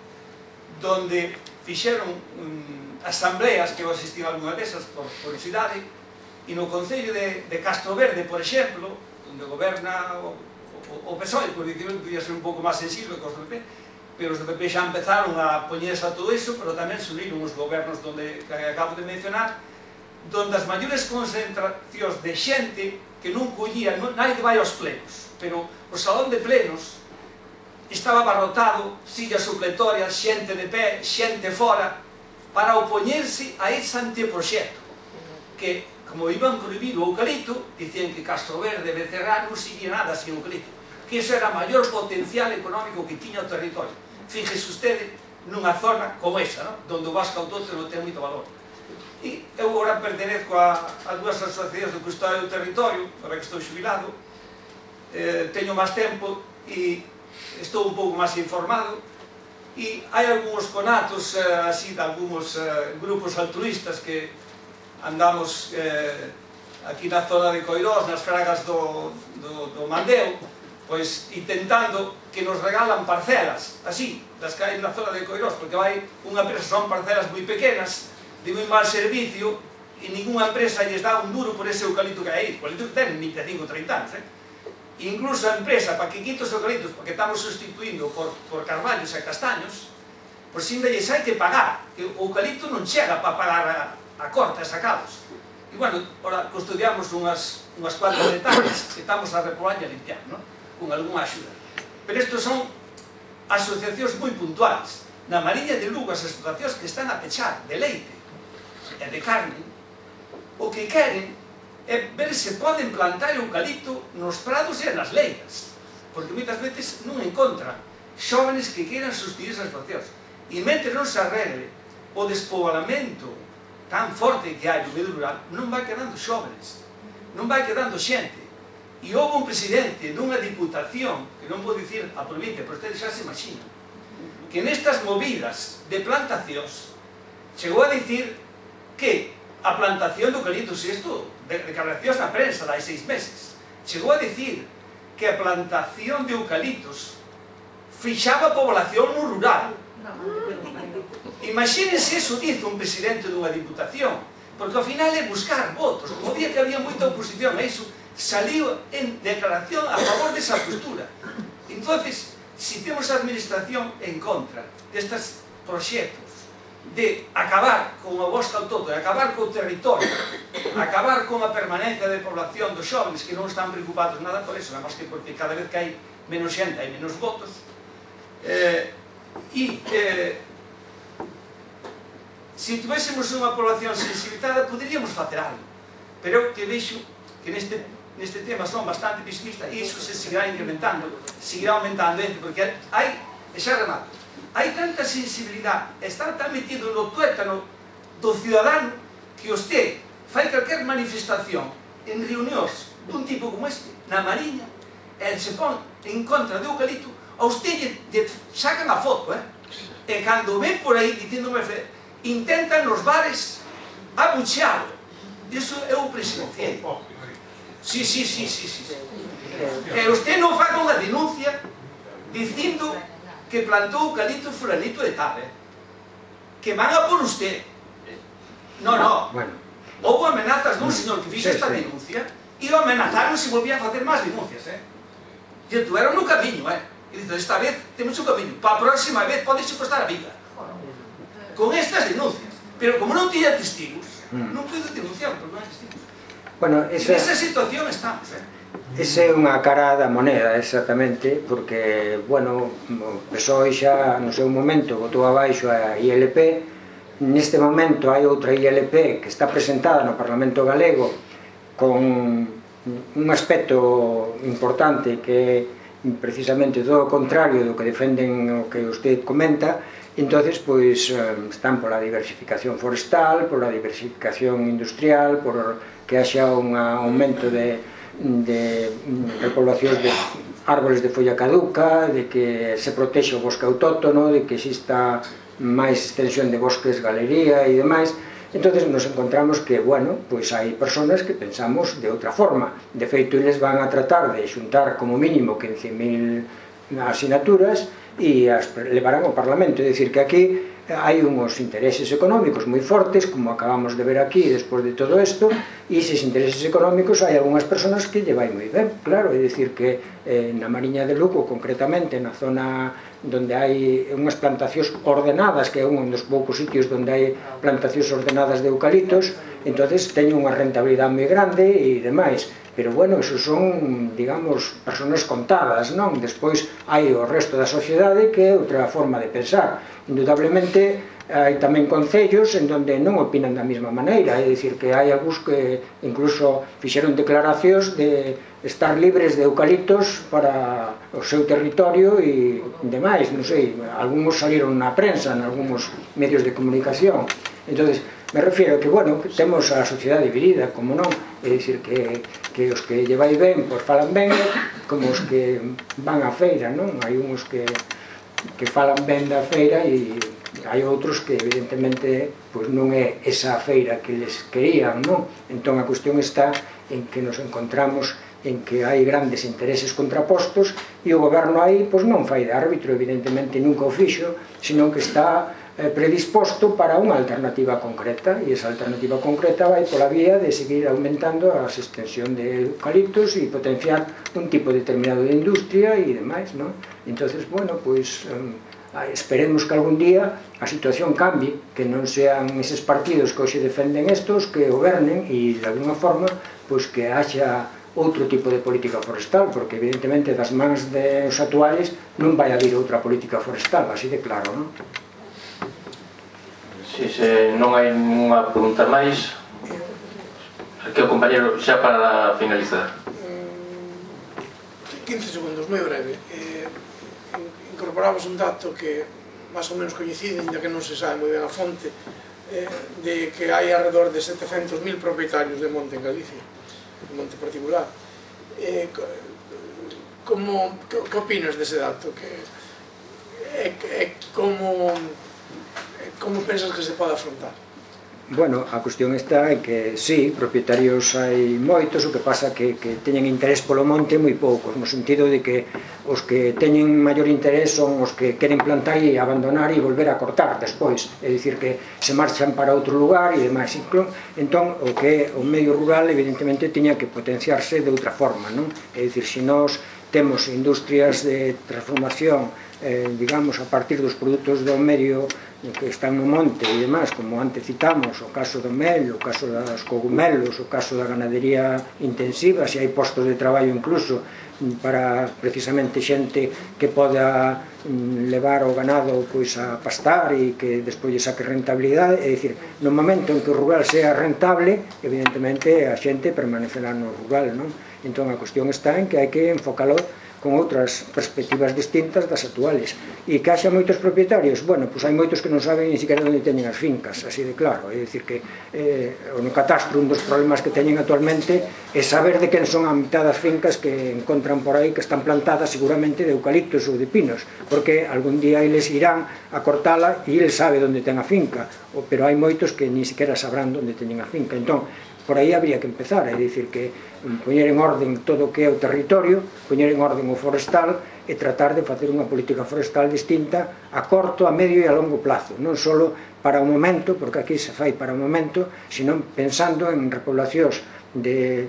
donde fixeron um, asambleas, que eu asistí a algunha desas por curiosidade, e no concello de, de Castro Verde, por exemplo, onde goberna o, o, o P S O E, por dicirlo, podía ser un pouco máis sensible que os do P P, pero os do P P xa empezaron a poñerse a todo iso, pero tamén subiron os gobernos donde, que acabo de mencionar, donde as maiores concentracións de xente que non collía, non, naide vai aos plenos, pero o salón de plenos estaba abarrotado, sillas supletorias, xente de pé, xente fora, para opoñerse a ese anteproxecto, que como iban prohibir o eucalipto, dicían que Castro Verde, Becerra, non seguía nada sin eucalipto, que iso era o maior potencial económico que tiña o territorio. Fíjese usted nunha zona como esa, ¿no? Donde o bosque autóctono ten moito valor. E eu agora pertenezco a, a dúas asociacións de custodia do territorio, para que estou xubilado, eh, teño máis tempo e estou un pouco máis informado, e hai algúns conatos, eh, así, de algúns eh, grupos altruistas que andamos eh, aquí na zona de Coirós, nas fragas do, do, do Mandeo, pois intentando que nos regalan parcelas, así, das que hai na zona de Coirós, porque vai unha empresa, son parcelas moi pequenas, de moi mal servicio e ninguna empresa lles dá un duro por ese eucalipto que hai aí. O eucalipto que ten vinte e cinco ou trinta anos, eh? Incluso a empresa, para que quite os eucaliptos, porque estamos sustituindo por, por carballos e castaños, por si ainda lles hai que pagar, que o eucalipto non chega para pagar a, a corta e sacados. E, bueno, ahora custodiamos unhas, unhas cuantas hectáreas que estamos a repolar e a limpiar, ¿no? Con algunha axuda. Pero estos son asociacións moi puntuales. Na Mariña de Lugo, as explotacións que están a pechar de leite e de carne, o que queren é ver se poden plantar eucalipto nos prados e nas leiras, porque moitas veces non encontran xóvenes que queiran sustituir esas explotacións. E mentre non se arregle o despobolamento tan forte que hai no medio rural, non vai quedando xóvenes, non vai quedando xente. E houve un presidente dunha diputación, que non vou dicir a provincia, pero ustedes xa se imaginan, que nestas movidas de plantacións chegou a dicir que a plantación de eucaliptos, e isto, de declaracións na prensa de hai seis meses, chegou a dicir que a plantación de eucaliptos fixaba a población no rural. Imagínense eso dice un presidente dunha diputación, porque ao final é buscar votos. O día que había moita oposición a iso, saliu en declaración a favor desa postura. Entonces, si temos a administración en contra destes proxectos de acabar con o bosque autóctono, acabar co territorio, acabar con a permanencia de población dos xóvenes que non están preocupados nada por eso, nada máis que porque cada vez que hai menos xente hai menos votos, eh, e eh, se tuvéssemos unha población sensibilizada poderíamos facer algo, pero que vexo que neste, neste tema son bastante pesimistas e iso se seguirá incrementando, seguirá aumentando, porque hai, e xa remato, hai tanta sensibilidade, está tan metido no tuétano do cidadano que usted fai calquer manifestación en reunións dun tipo como este, na Mariña, e se pon en contra de eucalipto, a usted lle, lle sacan a foto, eh? E cando ven por aí dicíndome, intentan nos bares abuchealo. Iso é o presidencial. Sí, sí, sí, sí, sí. E usted non faga unha denuncia dicindo que plantou eucalipto fulanito de tal, eh? Que van a por usted. No, no. Bueno. Houve amenazas dun señor que fixo esta denuncia e o amenazaron se volvía a facer máis denuncias, eh? E tuveron no camiño, eh? E dice, esta vez temos un camiño, para a próxima vez podexe costar a vida. Con estas denuncias. Pero como non tiña testigos, non puedo denunciar, porque non hai testigos. Bueno, esa... Nesa situación estamos, eh? Esa é unha cara da moneda, exactamente, porque, bueno, o P S O E xa no seu momento botou abaixo a I L P, neste momento hai outra I L P que está presentada no Parlamento Galego con un aspecto importante que é precisamente todo o contrario do que defenden o que usted comenta. Entonces, pois, están pola diversificación forestal, pola diversificación industrial, por que haxa un aumento de, de repoblación de árboles de folla caduca, de que se protexe o bosque autóctono, de que exista máis extensión de bosques galería e demais. Entonces nos encontramos que, bueno, pois hai personas que pensamos de outra forma. De feito, eles van a tratar de xuntar como mínimo quince mil asinaturas e as levarán ao Parlamento. É dicir, que aquí hai uns intereses económicos moi fortes, como acabamos de ver aquí despois de todo isto, e eses intereses económicos hai algunhas personas que lle vai moi ben, claro. É dicir, que eh, na Mariña de Lugo, concretamente na zona donde hai unhas plantacións ordenadas, que é un dos poucos sitios onde hai plantacións ordenadas de eucaliptos, entonces teñen unha rentabilidade moi grande e demais. Pero, bueno, eso son, digamos, personas contadas, non? Despois hai o resto da sociedade que é outra forma de pensar. Indudablemente, hai tamén concellos en donde non opinan da mesma maneira, é dicir, que hai algúns que incluso fixeron declaracións de estar libres de eucaliptos para o seu territorio e demais, non sei, algúns saliron na prensa, en algúns medios de comunicación. Entonces, me refiero que, bueno, que temos a sociedade dividida, como non, é dicir, que, que os que lle vai ben, pois falan ben, como os que van á feira, non? Hai uns que, que falan ben da feira e hai outros que, evidentemente, pois non é esa feira que les querían, non? Entón, a cuestión está en que nos encontramos en que hai grandes intereses contrapostos e o goberno aí pois non fai de árbitro, evidentemente nunca o fixo, senón que está eh, predisposto para unha alternativa concreta, e esa alternativa concreta vai pola vía de seguir aumentando a extensión de eucaliptos e potenciar un tipo determinado de industria e demais, non? Entonces, bueno, pois um, esperemos que algún día a situación cambie, que non sean eses partidos que hoxe defenden estos que gobernen e de alguna forma pois que haxa outro tipo de política forestal, porque evidentemente das mans dos actuales non vai haber outra política forestal, así de claro, non? Si, se non hai ninguna pregunta máis, aquí o compañero xa para finalizar. quince segundos, moi breve. Eh, incorporamos un dato que máis ou menos coincide, ainda que non se sabe moi ben a fonte, eh, de que hai alrededor de setecentos mil propietarios de monte en Galicia, de monte particular. Eh, como, que, que opinas dese dato? Que, é, é como, como pensas que se pode afrontar? Bueno, a cuestión está é que, sí, propietarios hai moitos, o que pasa que, que teñen interés polo monte moi poucos, no sentido de que os que teñen maior interés son os que queren plantar e abandonar e volver a cortar despois, é dicir que se marchan para outro lugar e demais. Entón, o que o medio rural evidentemente tiña que potenciarse de outra forma, non? É dicir, se nós temos industrias de transformación, eh, digamos, a partir dos produtos do medio que están no monte e demais, como antes citamos, o caso do mel, o caso das cogumelos, o caso da ganadería intensiva, se hai postos de traballo incluso para precisamente xente que poda levar o ganado pois a pastar e que despois lle saque rentabilidade, é dicir, no momento en que o rural sea rentable, evidentemente a xente permanecerá no rural, non? Entón a cuestión está en que hai que enfocalo con outras perspectivas distintas das actuales. E que haxa moitos propietarios, bueno, pois hai moitos que non saben ni siquiera onde teñen as fincas, así de claro, é dicir que eh, no catastro un dos problemas que teñen actualmente é saber de quen son a mitad das fincas que encontran por aí que están plantadas seguramente de eucaliptos ou de pinos, porque algún día eles irán a cortala e eles sabe onde ten a finca, pero hai moitos que ni siquiera sabrán onde teñen a finca. Entón, por aí habría que empezar, é dicir que poñer en orden todo o que é o territorio, poñer en orden o forestal e tratar de facer unha política forestal distinta a corto, a medio e a longo plazo, non só para o momento, porque aquí se fai para o momento, sino pensando en repoblacións de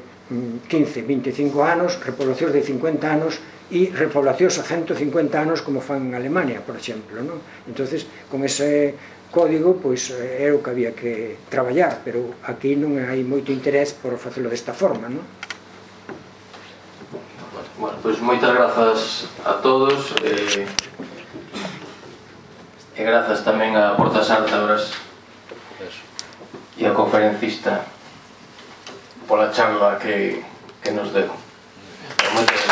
quince, vinte e cinco anos, repoblacións de cincuenta anos e repoblacións a ciento cincuenta anos como fan en Alemania, por exemplo, non? Entonces, con ese código, pois é o que había que traballar, pero aquí non hai moito interés por facelo desta forma, non? Bueno, pois moitas grazas a todos e, e grazas tamén a Portas Ártabras e a conferencista pola charla que, que nos deu. Moitas